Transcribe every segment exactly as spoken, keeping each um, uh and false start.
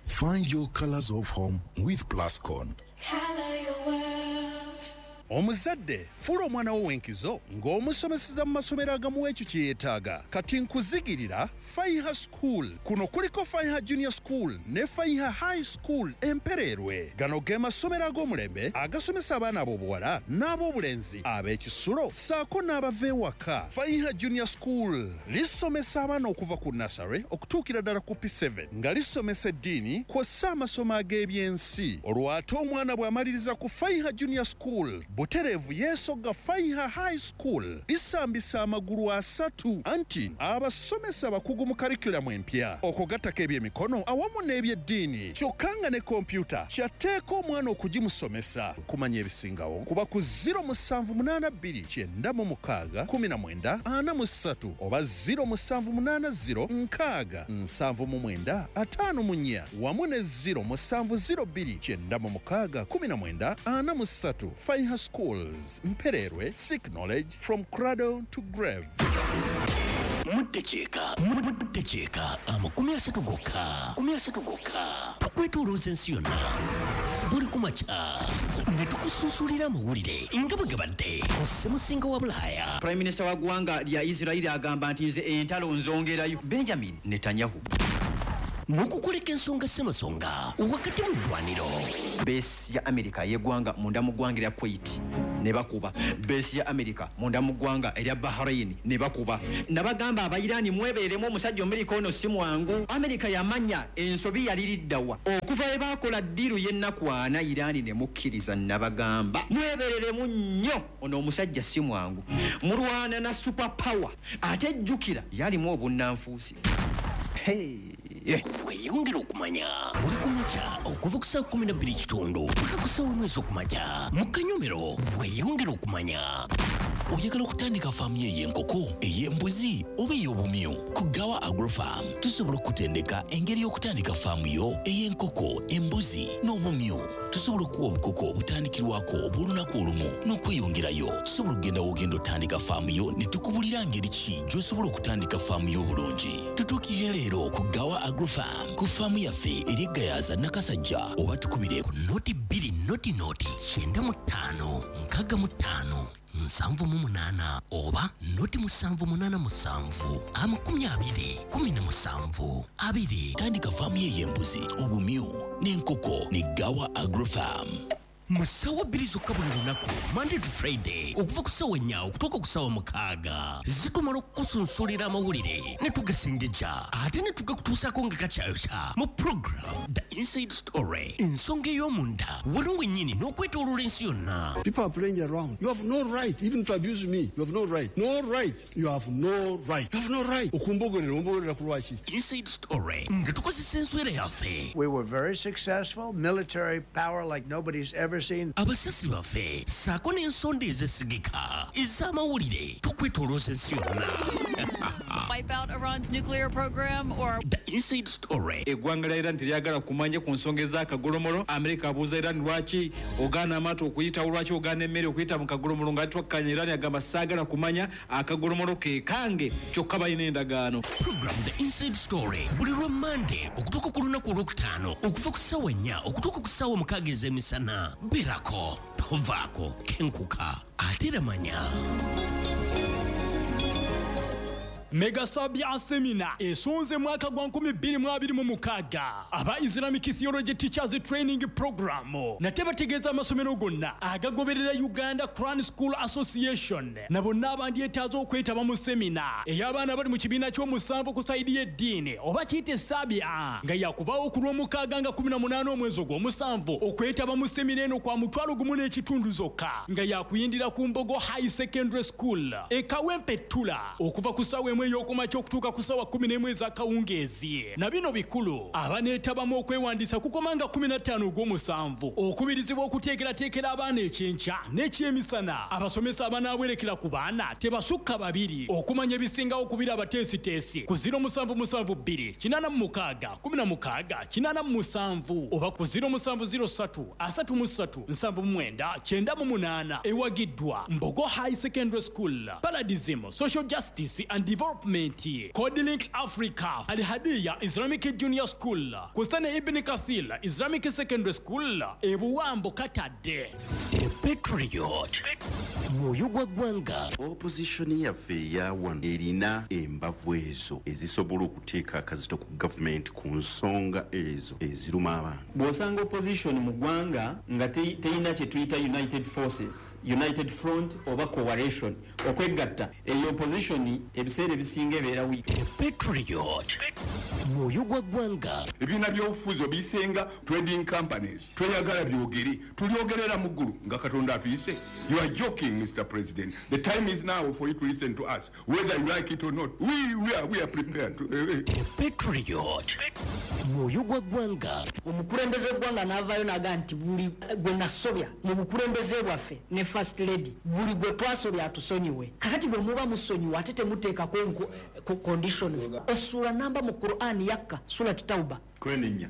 Find your colors of home with Plascon. Color your world. Omuzadde fuula omwana wo w'enkizo ng'omusomeseza mu masomero agamuwa ekyo kye yeetaaga. Kati nkuzigirira Faiha School. Kuno kuliko Faiha Junior School ne Faiha High School Empereerwe. Gano ge masomero ag'omulembe agasomesa abaana ab'obuwala n'ab'obulenzi, ab'ekisulo ssaako n'abava ewaka. Faiha Junior School lisomesa abaana okuva ku nursery okutuukira ddala ku P seven, nga lisomesa eddiini kw'ossa amasomo ag'ebyensi. Olwo ate omwana bw'amaliriza ku Faiha Junior School, butereevu yeesogga Faiha High School. Lisambisa amagulu asatu, anti abasomesa abakugu mu curriculum empya, okugattako ebyemikono awamu n'ebyeddiini, kyokka nga ne kompyuta kyatteeka omwana okugimusomesa. Kumanya ebisingawo kuba ku zero musanvu munaana bbiri kyenda mu mukaaga kumi na mwenda ana mu ssatu oba zero musanvu munaana zero nkaaga nsanvu mu mwenda ataano mu nnya wamu ne zero musanvu zero bbiri kyenda mu mukaaga kumi na mwenda ana mu ssatu. Faiha Schools, Mpererwe, seek knowledge from cradle to grave. Muddakiika muddakiika amakumi asatu gokka, makumi asatu gokka, tukwetoolooza ensi yonna buli ku makya ne tukusunsulira amawulire nga bwe gabadde ku ssemusinga wa Bulaaya. Prime Minister wa ggwanga lya Isirairi agamba nti nze entalo nzongerayo, Benjamin Netanyahu. N'okukuleka ensonga ssemasonga wakati mu ddwaniro. Base ya America y'eggwanga munda mu ggwanga erya Kuwait ne bakuba base ya America munda mu ggwanga erya Bahrain ne bakuba. Nabagamba Abairani mwebeeremu, omusajja Amerika ono si mwangu. Amerika yamanya ensobi yaliriddawa okuva we baakola deal y'ennaku ana Irani ne mukkiriza. Nabagamba mwebereremu nnyo, ono omusajja si mwangu, mulwana na super power, ate jjukira yalimu obunnanfuusi. Hey. Weeyongera okumanya buli ku makya okuva ku ssaawa kumi na bbiri kitundu paka ku ssaawa emu ez'okumakya mu kanyomero. Weeyongera okumanya. Oyagala okutandika faamu yo ey'enkoko, ey'embuzi oba ey'obumyu? Ku Gawa Agrofarm tusobola okutendeka engeri y'okutandika faamu yo ey'enkoko, embuzi n'obumyu. Tusobola okuwa obukoko obutandikirwako obw'olunaku olumu n'okweyongerayo. Tusobola okugenda w'ogenda otandika faamu yo ne tukubulira ngeri ki gy'osobola okutandika faamu yo obulungi. Tutuukirire leero ku Gawa Agrofarm ku faamu yaffe eri Gayaza, Nakasajja, oba tukubire ku noti bbiri noti noti kyenda mu ttaano nkaaga mu ttaano nsanvu mu munaana oba noti musanvu munaana musanvu amakumi abiri kumi na musanvu abiri. Tandika faamu yo ey'embuzi, obumyu n'enkoko ne Gawa Agrofarm. Mu ssaawa bbiri zokka buli lunaku, Monday to Friday, okuva ku ssaawa nnya okutuuka ku ssaawa mukaaga, zitumala okukusunsulira amawulire ne tugasengejja ate ne tugakutuusaako nga kakyayokya mu program The Inside Story, ensonga ey'omunda wano wennyini n'okwetooloola ensi yonna. People are playing around. You have no right even to abuse me. You have no right. No right. You have no right. You have no right. Okumbogolera, ombogerera ku lwaki? Inside Story nga tukozesa enswera yaffe. We were very successful, military power like nobody's ever seen. Abasasi baffe ssaako n'ensonda ezesigika ez'amawulire, tukwetoolooza ensi yonna. Wipe out Iran's nuclear program or The Inside Story. Eggwanga lya Iran teryagala kumanya ku nsonga ez'akagolomolo. Amerika abuuza Iran, lwaki ogaana amaato okuyitawo, lwaki ogaana emmere okuyita mu kagolomolo? Nga twakkanya, Iran agamba saagala kumanya, akagolomolo ke kange, kyokka balina endagaano. Program The Inside Story buli lwa Mande okutuuka ku lunaku olwokutaano okuva ku ssaawa nnya okutuuka ku ssaawa mukaaga ez'emisana. Beerako, tovaako, kenkuka ate era manya. Mega Sabia Seminar esonze mwaka gwa nkumi bbiri mu abiri mu mukaaga aba Islamic Theology Teachers Training Program. Nate bategeeza amasomero gonna agagoberera Uganda Quran School Association na bonna abandyetaaza okwetaba mu seminar ey'abaana bali mu kibiina ky'omusanvu ku side y'eddiini oba kiyite Sabia, nga yakubaawo ku lw'omukaaga nga kumi na munaana omwezi ogw'omusanvu. Okwetaba mu seminar eno kwa mutwalo gumu n'ekitundu zokka, nga yakuyindira ku Mbogo High Secondary School e Kawempe Ttula okuva ku ssaawa emu ey'okumakya okutuuka ku ssaawa kumi n'emu ez'akawungeezi. Na bino bikulu, abaneetabamu okwewandiisa kukoma nga kumi na ttaano ogw'omusanvu. Okubirizibwa okuteekerateekera abaana ekyenkya n'ekyemisana. Abasomesa abanaawerekera ku baana tebasukka babiri. Okumanya ebisingawo kubira abateesiteesi ku zero musanvu musanvu bbiri kinaana mu mukaaga kumi na mukaaga kinaana mu musanvu oba ku zero musanvu zero ssatu asatu mu ssatu nsanvu mu mwenda kyenda mu munaana. Ewagiddwa Mbogo High Secondary School, Paradism Social Justice and Development. Development, Codelink Africa, Al-Hadiya Islamic Junior School, Kusane Ibn Kathir Islamic Secondary School, Ebuwambo Katadde. The Patriot. Mwoyo gwa ggwanga. Opposition yaffe eya wano erina embavu ezo ezisobola okuteeka akazito ku gavumenti ku nsonga ezo eziruma abantu. Bw'osanga opposition mu ggwanga nga teyina kye tuyita united forces, united front oba coalition, okwegatta, eyo opposition ebiseera ebisinga ebeera weak. The Patriot. Mwoyo gwa ggwanga. Ebibiina by'obufuzi obisenga trading companies, tweyagala byogere, tulyogerera mu ggulu nga Katonda atuyise. You are joking, Mister President. The time is now for you to listen to us, whether you like it or not. We, we, are, we are prepared. To, uh, The Patriot. Mwoyo gwa ggwanga. Omukulembeze w'eggwanga n'avaayo n'agamba nti buli gwe nasobya mu bukulembeze bwaffe ne First Lady, buli gwe twasobya atusonyiwe. Kakati bwe muba musonyiwa ate temuteekako conditions. Essuula namba mu Quran yakka, Surat Tauba.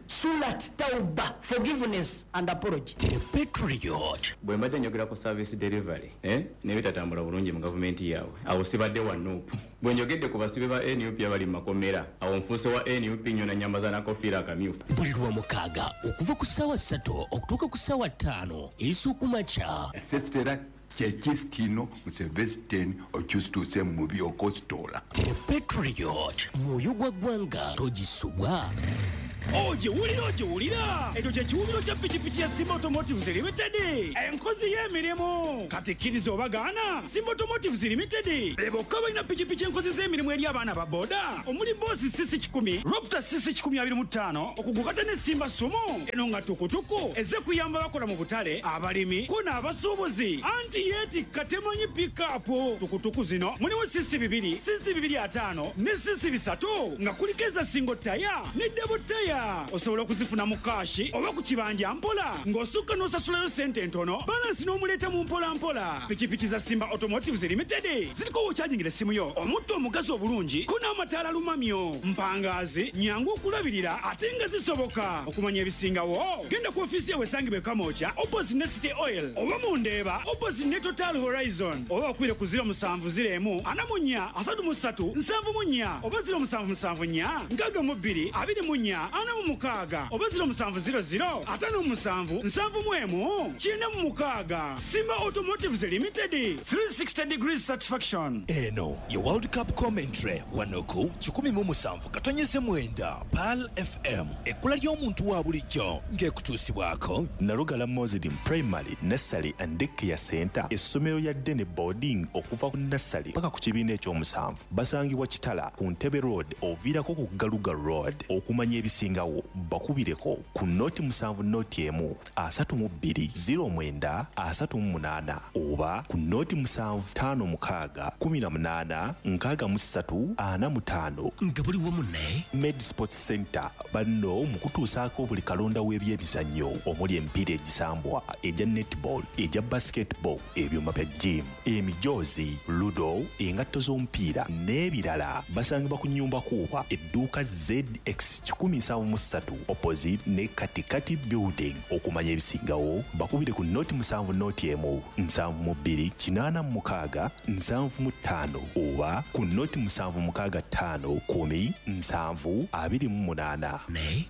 Surat Tauba, forgiveness and apology. The Patriot. Bwe mbadde njogera ku service delivery, eh, n'ebitatambula bulungi mu gavumenti yaabwe, awo sibadde wa N U P. Bwe njogedde ku basibe ba N U P abali mu makomera, awo nfuuse wa N U P nnyo nanyambaza n'akakofiira akamyufu. Buli lwa mukaaga okuva ku ssaawa ssatu okutuuka ku ssaawa ttaano ez'okumakya. Sesitera kyekistino Museveni okyusituuse mu by'okositola. The Patriot. Mwoyo gwa ggwanga togisubwa. Ogiwulira ogiwulira ekyo kye kiwubiro kya pikipiki ya Simba Automotives Limited, enkozi y'emirimu. Kati kkiriza obagaana, Simba Automotives Limited be bokka balina pikipiki enkozi z'emirimu eri abaana ba boda omuli Boss C C kikumi, Raptor C C kikumi abiri mu ttaano, okugukata ne Simba Sumo eno nga tukutuku ezze kuyamba abakola mu butale, abalimi ko n'abasuubuzi. Anti yeetikka temanyi pickup. Tukutuku zino mulimu C C bibiri, C C bibiri ataano ne C C bisatu nga kuliko eza single tire ne double tire. Osobola okuzifuna mu kaashi oba ku kibanja mpola ng'osukka n'osasulayo ssente entono, balansi n'omuleeta mu mpola mpola. Pikipiki za Simba Automotives Limited ziriko w'okyajingira essimu yo, omutto omugazi obulungi ko n'amataala lumamyo, mpangaazi, nyangu okulabirira ate nga zisoboka. Okumanya ebisingawo genda ku ofiisi yawe esangibwa e Kamwokya opposite ne City Oil oba mu Ndeeba opposite ne Total Horizon, oba bakubire ku ziro musanvu ziro emu ana mu nnya asatu mu ssatu nsanvu mu nnya oba ziro musanvu musanvu nnya nkaaga mu bbiri abiri mu nnya ana mu mukaaga oba ziro musanvu ziro ziro ataano mu musanvu nsanvu mu emu kyenda mu mukaaga. Simba Automotives Limited, three sixty degrees satisfaction. Eno ye World Cup commentary wano ku kikumi mu musanvu katonyeze mwenda Pearl F M, ekkula ly'omuntu wa bulijjo ng'ekutuusibwako Nalugala Muslim Primary Nursery and Daycare Center, essomero lya Dene Boarding okuva ku nursery paka ku kibiina ekyomusanvu. Basangibwa Kitala ku Ntebe Road oviirako ku Galuga Road. Okumanya ebisingawo bakubireko ku noti musanvu noti emu asatu mu bbiri ziro mwenda asatu mu munaana oba ku noti musanvu ttaano mukaaga kumi na munaana nkaaga mu ssatu ana mu ttaano. Nga buli wamu ne Med Sports Center banno mu kutuusaako buli kalonda w'ebyemizannyo omuli emipiira egisambwa, egya netball, egya basketball, ebyuma bya gym, emijoozi, ludo, engatto z'omupiira n'ebirala. Basangibwa ku nnyumba kuuba edduuka Z X kikumi nsanvu mu ssatu opposite ne Katikati Building. Okumanya ebisingawo bakubire ku noti musanvu noti emu nsanvu mu bbiri kinaana mu mukaaga nsanvu mu ttaano oba ku noti musanvu mukaaga ttaano kumi nsanvu abiri mu munaana.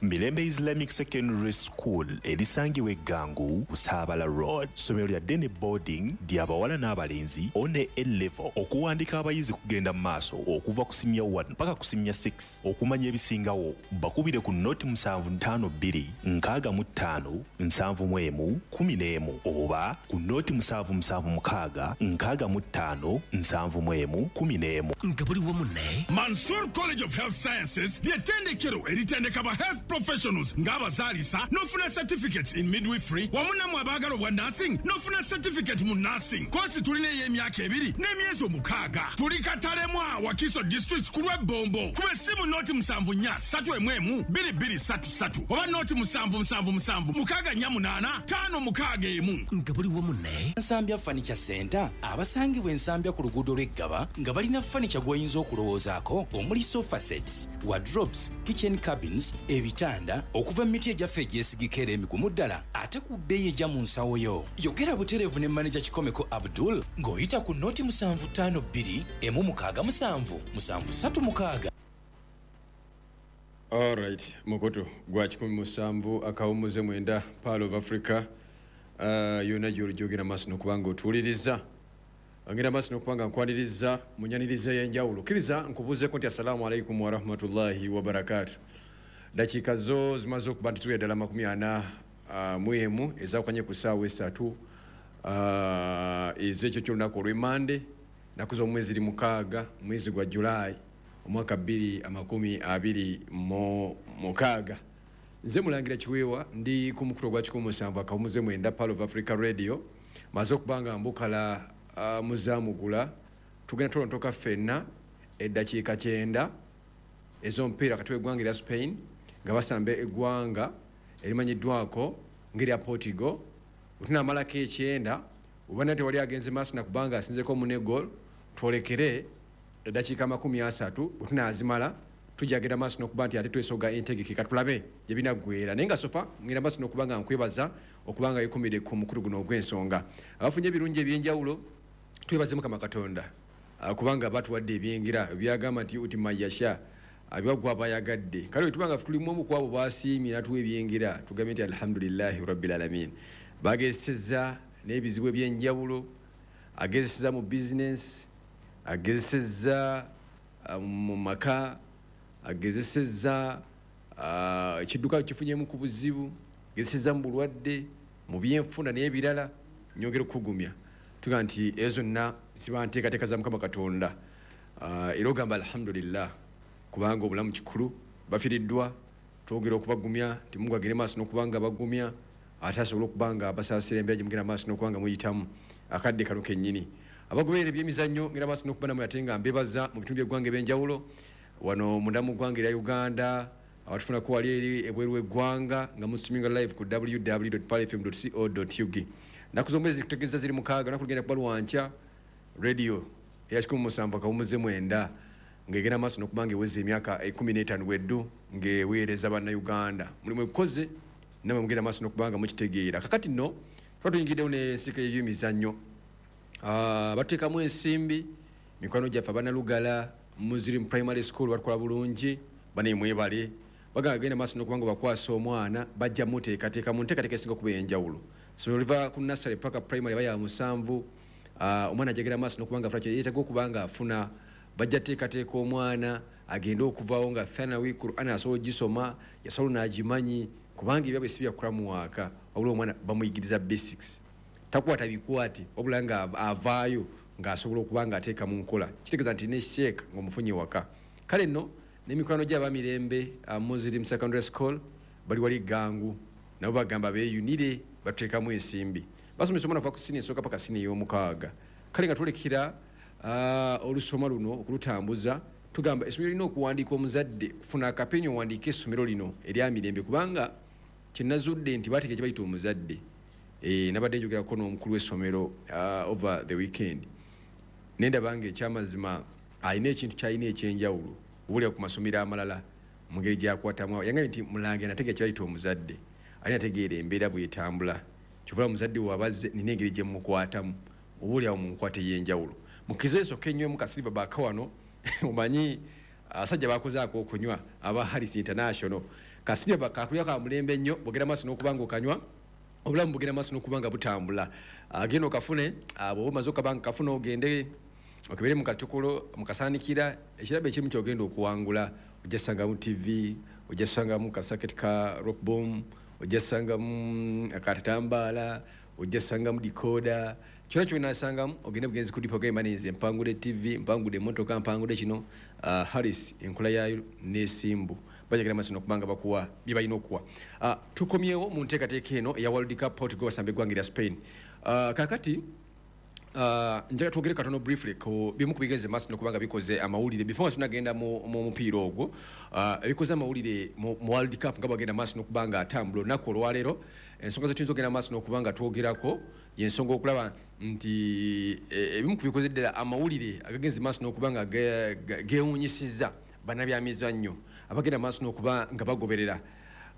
Mirembe Islamic Secondary School erisangibwa e Gangu Busaabala Road, ssomero lya Dene Boarding ly'abawala n'abalenzi one A level. Okuwandika abayizi kugenda mu maaso okuva ku senior one paka ku senior six. Okumanya ebisingawo bakubire ku noti musanvu ttaano bbiri nkaaga mu ttaano nsanvu mu emu kumi n'emu oba ku noti musanvu musanvu mukaaga nkaaga mu ttaano nsanvu mu emu kumi n'emu. Nga buli wamu ne Mansour College of Health Sciences ly'ettendekero eritendeka ba health professionals ng'abazaalisa n'ofuna certificates in midwifery wamu nammwe abaagala obwa nursing n'ofuna certificate mu nursing. Koosi tulina ey'emyaka ebiri n'emyezi omukaaga. Tuli Katalemwa, Wakiso District ku lw'Ebbombo. Kuba essimu noti musanvu nnya ssatu emu emu bbiri bbiri bbiri ssatu ssatu oba noti musanvu musanvu musanvu mukaaga nnya munaana ttaano mukaaga emu. Nga buli wamu ne Nsambya Furniture Center abasangibwa Ensambya ku luguudo lw'Eggaba nga balina furniture gw'oyinza okulowoozaako omuli sofa sets, wardrobes, kitchen cabins, ebitanda okuva mu miti egyaffe egyesigika era emigumu ddala ate ku bbeeyi ejja mu nsawo yo. Yogera butereevu ne maneja Kikomeko Abdul ng'oyita ku noti musanvu ttaano bbiri emu mukaaga musanvu musanvu ssatu mukaaga. Alright, mukutu gwa kikumi musanvu akawumuze mwenda Pearl of Africa uh, yonna gy'olijogera maaso n'okubanga otuwuliriza. Ngenda maaso n'okubanga nkwaniriza munyaniriza ey'enjawulo. Kkiriza nkubuuzeeko nti assalaamu alaikum warahmatullahi wabarakaatu. Dakiika zo zimaze okuba nti tuwera ddala makumi ana uh, mu emu ezaawukanye ku ssaawa essatu uh, ez'ekyo ky'olunaku olw'Emmande, nnaku z'omwezi mukaaga mwezi gwa Julaayi omwaka bbiri amakumi abiri mu mukaaga. Nze Mulangira Kiweewa ndi ku mukutu ogwa kikumi musanvu akawumuze mwenda Pearl of Africa Radio. Maze okuba nga mbukala uh, muzaamugula tugenda tolontoka ffenna eddakiika kyenda ez'omupiira wakati w'eggwanga erya Spain nga basamba eggwanga erimanyiddwako ng'erya Portugal. Bwe tunaamalako ekyenda oba nate wali agenze maaso nakubanga asinzeko munne goal, twolekere eddakiika makumi asatu. Bwe tunaazimala tujja genda maaso n'okuba nti ate twesoga entegeke katulabe gye binaggweera. Naye nga sofa ngenda maaso n'okuba nga nkwebaza okuba nga yekumidde ku mukulu guno ogw'ensonga. Abafunye ebirungi eby'enjawulo twebaze Mukama Katonda kubanga batuwadde ebyengera byagamba nti uti mayasha abyagwa abayagadde. Kale tuba nga tulimu omu ku abo basiimye natuwa ebyengera tugambe nti alhamdulillahi rabbil alamin. Bagezesezza n'ebizibu eby'enjawulo, agezesezza mu bizinensi, agezesezza mu maka, agezesezza ekidduka kifunyemu ku buzibu, agezesezza mu bulwadde, mu byenfuna n'ebirala. Nyongera okukugumya tuga nti ezo zonna ziba nteekateeka za Mukama Katonda. Era ogamba alhamdulillah kubanga obulamu kikulu. Bafiiriddwa twogera okubagumya nti Mungu agende maaso n'okubanga bagumya ate asobole okuba nga abasaasira embeera gye mugenda maaso n'okuba nga muyitamu akadde kano kennyini. Abagoberera ebyemizannyo ngenda maaso n'okuba namwe ate nga mbebaza mu bitundu by'eggwanga eby'enjawulo wano munda mu ggwanga erya Uganda, abatufunako wali eri ebweru w'eggwanga nga musitreaminga live ku w w w dot pearl f m dot co dot u g. Nnaku z'omwezi kutegeeza ziri mukaaga, lunaku lugenda kuba lwankya radio eya kikumi musanvu akawumuze mwenda ng'egenda maaso n'okuba nga eweza emyaka ekkumi n'etaano bweddu ng'eweereza Bannayuganda. Mulimu egukoze nammwe mugenda maaso n'okuba nga mukitegeera. Kakati nno tuba tuyingiddewo n'ensiika y'ebyemizannyo. Batuteekamu ensimbi mikwano gyaffe Abannalugala Muslim Primary School batukola bulungi, bane mwebale. Bagamba genda maaso n'okuba nga bakwasa omwana bajja muteekateeka mu nteekateeka esinga okuba ey'enjawulo. So oliva ku nursery paka primary baya musanvu, omwana ajagera maaso n'okuba nga afuna kye yeetaaga okuba nga afuna. Bajja teekateeka omwana agende okuvaawo nga thanawi Qur'an asobola ogisoma, yasobola n'agimanyi kubanga ebyabwe si byakula mu waaka, wabula omwana bamuyigiriza basics. Takwata bikwate wabula nga avaayo ng'asobola okuba nga ateeka mu nkola. Kitegeeza nti ne sheeka ng'omufunye waka. Kale nno n'emikwano gy'abamirembe Muslim Secondary School bali wali Gangu nabo bagamba beeyunire batuteekamu ensimbi. Basomesa omwana okuva ku siniya esooka paka siniya ey'omukaaga. Kale nga twolekera olusoma luno okulutambuza tugamba essomero lirina okuwandiika omuzadde kufuna akapeni owandiike essomero lino erya Mirembe kubanga kye nazudde nti baateeka kye bayita omuzadde. Nabadde njogerako n'omukulu w'essomero over the weekend ne ndaba nga ekyamazima alina ekintu ky'alina eky'enjawulo obulya ku masomero amalala mu ngeri gy'akwatamu. Yangambye nti Mulangira nategeera kye bayita omuzadde, alina ategeera embeera bw'etambula. Kyova omuzadde w'abazze nina engeri gye mmukwatamu oba oli awo mu nkwata ey'enjawulo. Mukize ensooka ennywemu ka Silver Back wano omanyi abasajja bakozaako okunywa aba Harris International. Ka Silver Back kakulya ka mulembe nnyo, bwogenda maaso n'okuba nga okanywa obulamu bugenda maaso n'okuba nga butambula. Agenda okafune, bw'oba omaze okaba nga kafuna ogende okebere mu katukolo mu kasaanikira ekirabo ekirimu ky'ogenda okuwangula. Ojja kusangamu T V, ojja kusangamu kasaketi ka rock bomb, ojja kusangamu akatambaala, ojja kusangamu decoder. Kyonna ky'onaasangamu ogende bugenzi ku dipo ogambe nze mpangudde T V, mpangudde emmotoka, mpangudde kino. Harris enkola yaayo n'esimbu bajagala maaso n'okuba nga bakuwa bye balina okuwa. Tukomyewo mu nteekateeka eno eya World Cup Portugal basamba eggwanga erya Spain. Kaakati Uh, njagala twogere katono briefly ku bimu ku bigeze maaso n'okubanga bikoze amawulire before tunagenda mu mu mupiira ogwo. uh, ebikoze amawulire mu, mu World Cup nga bagenda maaso n'okubanga atambula olunaku olwaleero, ensonga zetuyinza okugenda maaso n'okubanga twogerako y'ensonga okulaba nti ebimu ku bikoze ddala amawulire agagenze maaso n'okubanga geewuunyisizza bannabyamizannyo abagenda maaso n'okuba nga bagoberera.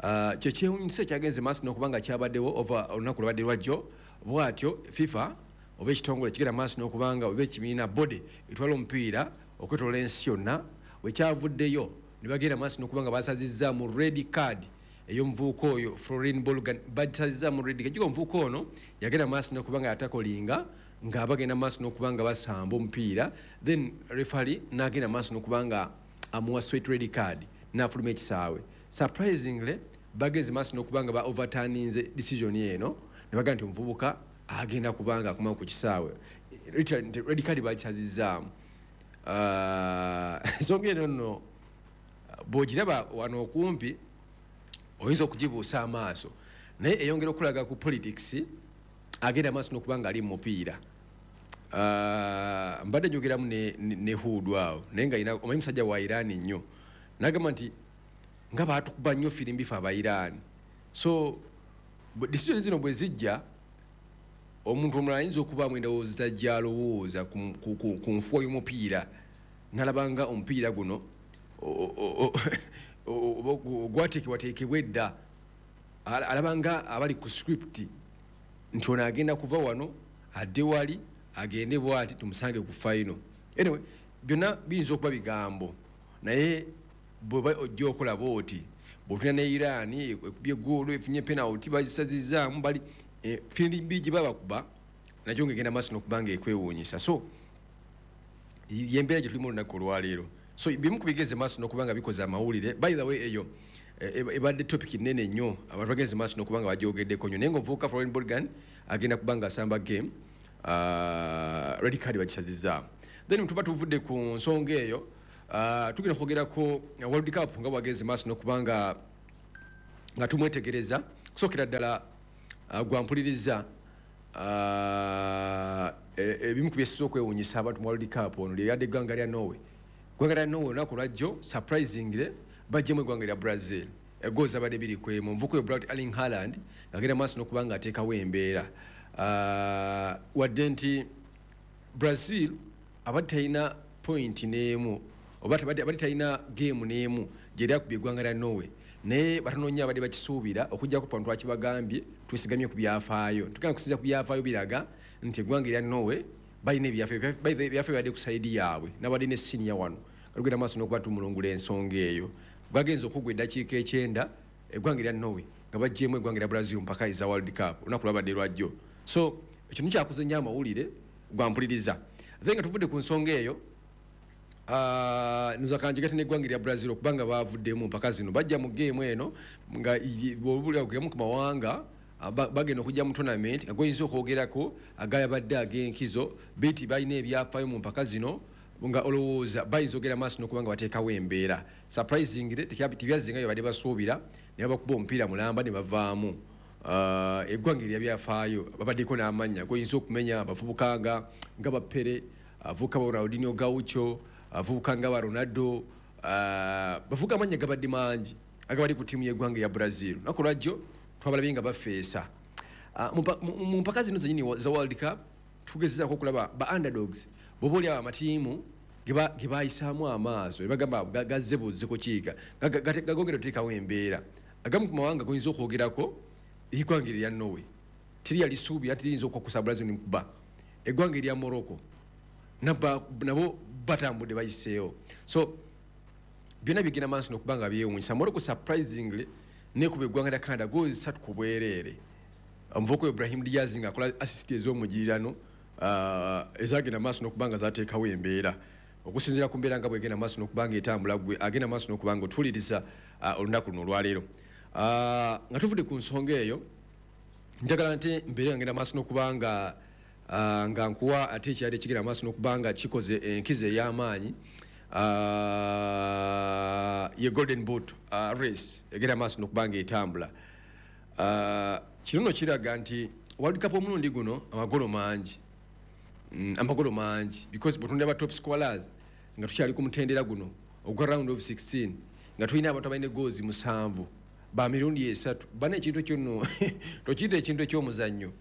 uh, kye kyewuunyisa ekyagenze maaso n'okubanga kyabaddewo ova olunaku lwabadde lwajjo bw'atyo FIFA oba ekitongole kigenda maaso n'okubanga oba ekibiina body etwala omupiira okwetoloola ensi yonna wekyavuddeyo ne bagenda maaso n'okubanga basazizza mu red card ey'omuvubuka oyo Florin Bolgan, basazizza mu red card. Omuvubuka ono yagenda maaso n'okubanga yatakolinga nga bagenda maaso n'okubanga basamba omupiira, then referee n'agenda maaso n'okubanga amuwa straight red card n'afuluma ekisaawe. Surprisingly bageze maaso n'okubanga ba overturninze decision eno ne bagamba nti omuvubuka agenda kubanga akoma ku kisaawe, red card bakisazizzaamu. Ensonga eno nno bw'ogiraba wano okumpi oyinza okugibuusa amaaso, naye eyongera okulaga ku politics agenda maaso n'okubanga ali mu mupiira. Mbadde njogeramu ne, ne, ne Hudu awo naye nga omanyi musajja wa Iran nnyo, n'agamba nti nga baatukuba nnyo firimbi ffe aba Iran. So decision zino bwe zijja omuntu omulala ayinza okubaamu endowooza gy'alowooza ku nfuwa y'omupiira n'alabanga omupiira guno gwateekebwateekebwa edda, alabanga abali ku script nti ono agenda kuva wano adde wali agende bw'ati tumusange ku final. Anyway, byonna biyinza okuba bigambo, naye bw'oba ojja okola bw'oti bw'otulina ne Iran ekubye goolo efunye penalty bagisazizzaamu bali firimbi gye babakuba nakyo ng'egenda maaso n'okubanga ekwewuunyisa. So y'embeera gye tulimu olunaku olwaleero. So bimu ku bigeze maaso n'okubanga bikoze amawulire. By the way, eyo ebadde topic nnene nnyo, abantu bagenze maaso n'okubanga bagyogeddeko nnyo, naye ng'omuvubuka Florin Bolgan agenda kubanga asamba game, uh, red card bagisazizzaamu. Then tuba tuvudde ku nsonga eyo, uh, tugenda kwogerako World Cup nga bwagenze maaso n'okubanga nga tumwetegereza. Kusookera ddala Uh, gwampuliriza ebimu ku byesiza okwewuunyisa abantu mu World Cup ono lyeyadde eggwanga lya Norway. Eggwanga lya Norway olunaku lwajjo surprisingly baggyemu eggwanga lya Brazil egoals zabadde biri ku emu. Omuvubuka oyo Braut Erling Haaland ng'agenda maaso n'okuba nga ateekawo embeera, uh, wadde nti Brazil abadde talina point n'emu oba abadde talina game n'emu gye yali akubye eggwanga lya Norway, naye batono nnyo abadde bakisuubira okuggyako ffe abantu twakibagambye twesigamye ku byafaayo. Tugenda kusinziira ku byafaayo biraga nti eggwanga erya Norway balina ebyafaayo, ebyafaayo bibadde ku sayidi yaabwe n'abadde ne siniya wano tugenda maaso n'okuba tumulungula ensonga eyo. Bwagenze okugwa eddakiika ekyenda eggwanga erya Norway nga baggyemu eggwanga erya Brazil mpaka eza World Cup olunaku lwabadde lwajjo. So ekyo nikyakuze nnyo amawulire gwampuliriza. Then nga tuvudde ku nsonga eyo, nza kanjigate n'eggwanga erya Brazil okubanga bavuddemu mpaka zino bajja mu game eno nga bw'obulira ku mawanga bagenda okujja mu tournament nga goyinza okwogerako agayabadde ag'enkizo biti balina ebyafaayo mu mpaka zino nga olowooza bayinza okugenda maaso n'okubanga bateekawo embeera. Surprisingly tebyazinga bye badde basuubira ne babakuba omupiira mulamba ne bavaamu. Eggwanga erya byafaayo babaddeko n'amannya goyinza okumenya abavubuka nga nga ba Pele, abavubuka ba Ronaldinho Gaucho, abavubuka nga ba Ronaldo, bavubuka amannya gabadde mangi agabadde ku ttiimu y'eggwanga ya Brazil. Olunaku lwajjo twabalabye nga bafeesa. Mu mpaka zino zennyini za World Cup tugezezaako okulaba ba underdogs bw'oba oli awo amatiimu ge bayisaamu amaaso ne bagamba gazze buzze kukiika gagongera oteekawo embeera. Agamu ku mawanga goyinza okwogerako eggwanga erya Norway teri yalisuubira nti liyinza okwakusa Brazil ne mukuba. Eggwanga erya Morocco nabo batambudde bayiseewo. So byonna bigenda maaso n'okuba nga byewuunyisa. Morocco surprisingly nekuba eggwanga lya Canada goals ssatu ku bwereere. Omuvubuka Ibrahim Diaz ng'akola assist ez'omugirirano ezagenda maaso n'okuba nga zateekawo embeera. Okusinziira ku mbeera nga bw'egenda maaso n'okuba nga etambula gwe agenda maaso n'okuba nga otuwuliriza olunaku luno olwaleero. Nga tuvudde ku nsonga eyo, njagala nti mbeere nga ngenda maaso n'okuba nga nga nkuwa ate ekyali ekigenda maaso n'okuba nga kikoze enkizo ey'amaanyi ye Golden Boot race egenda maaso n'okuba nga etambula. Kino nno kiraga nti World Cup omulundi guno amagolo mangi. mm, amagolo mangi, because bw'otunuulira ba top scorers nga tukyali ku mutendera guno ogwa round of sixteen, nga tulina abantu abalina goals musanvu ba mirundi esatu, bana ekintu kyonno tokiyita ekintu eky'omuzannyo,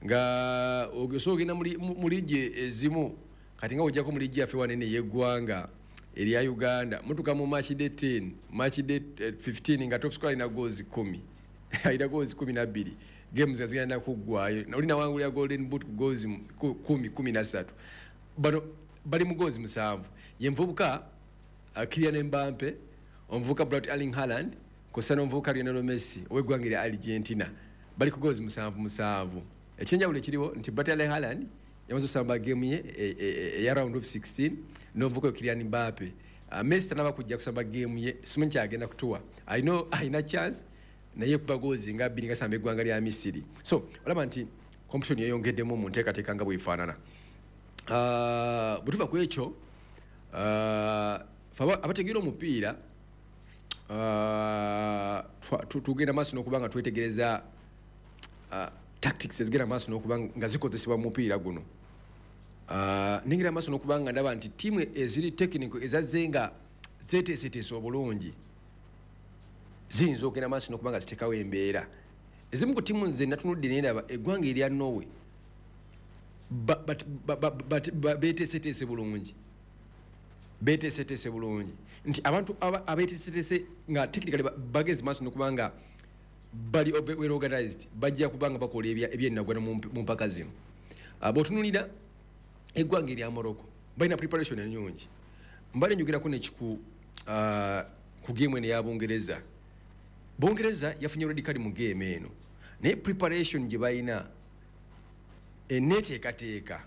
nga osobola ogenda mu liigi ezimu. Kati nga ojjako mu liigi yaffe wanene ey'eggwanga erya Uganda, mutuka mu match day ten, match day fifteen nga top scorer alina goals kumi, alina goals kumi na bbiri, games nga zigenda kuggwayo, oli nawangulira golden boot ku goals kumi, kumi na ssatu. Bano bali mu goals musanvu. Ye nvubuka Kylian Mbappe, omuvubuka Brad Erling Haaland, kw'ossa n'omuvubuka Lionel Messi ow'eggwanga erya Argentina, bali ku goals musanvu musanvu. Ekyenjawulo ekiriwo nti Brad Erling Haaland yamaze osamba game ye eya round of sixteen, n'omuvubuka Kylian Mbappe. Messi tanaba kujja kusamba game ye, simanyi kyagenda kutuwa, alina alina chance naye kuba goals nga bbiri nga samba eggwanga lya Misiri. So olaba nti competition yeyongeddemu mu nteekateeka nga bw'efaanana. Bwe tuva ku ekyo, abategeera omupiira tugenda maaso n'okuba nga twetegereza tactics ezigenda maaso n'okuba nga zikozesebwa mu mupiira guno. Nengera maaso n'okuba nga ndaba nti ttiimu eziri technical ezazze nga zeeteeseteese obulungi ziyinza okugenda maaso n'okuba nga ziteekawo embeera. Ezimu ku ttiimu nze natunudde ne ndaba eggwanga erya Norway beeteeseteese bulungi, beeteeseteese bulungi nti abantu abeeteeseteese nga technically bagezi maaso n'okuba nga bali well organized, bajja kuba nga bakola ebyennagwana mu mpaka zino. Bw'otunuulira eggwanga erya Morocco balina preparation ennungi. Mbadde njogerako nekiku ku game eno eya Bungereza. Bungereza yafunye red card mu game eno, naye preparation gye balina, enneeteekateeka,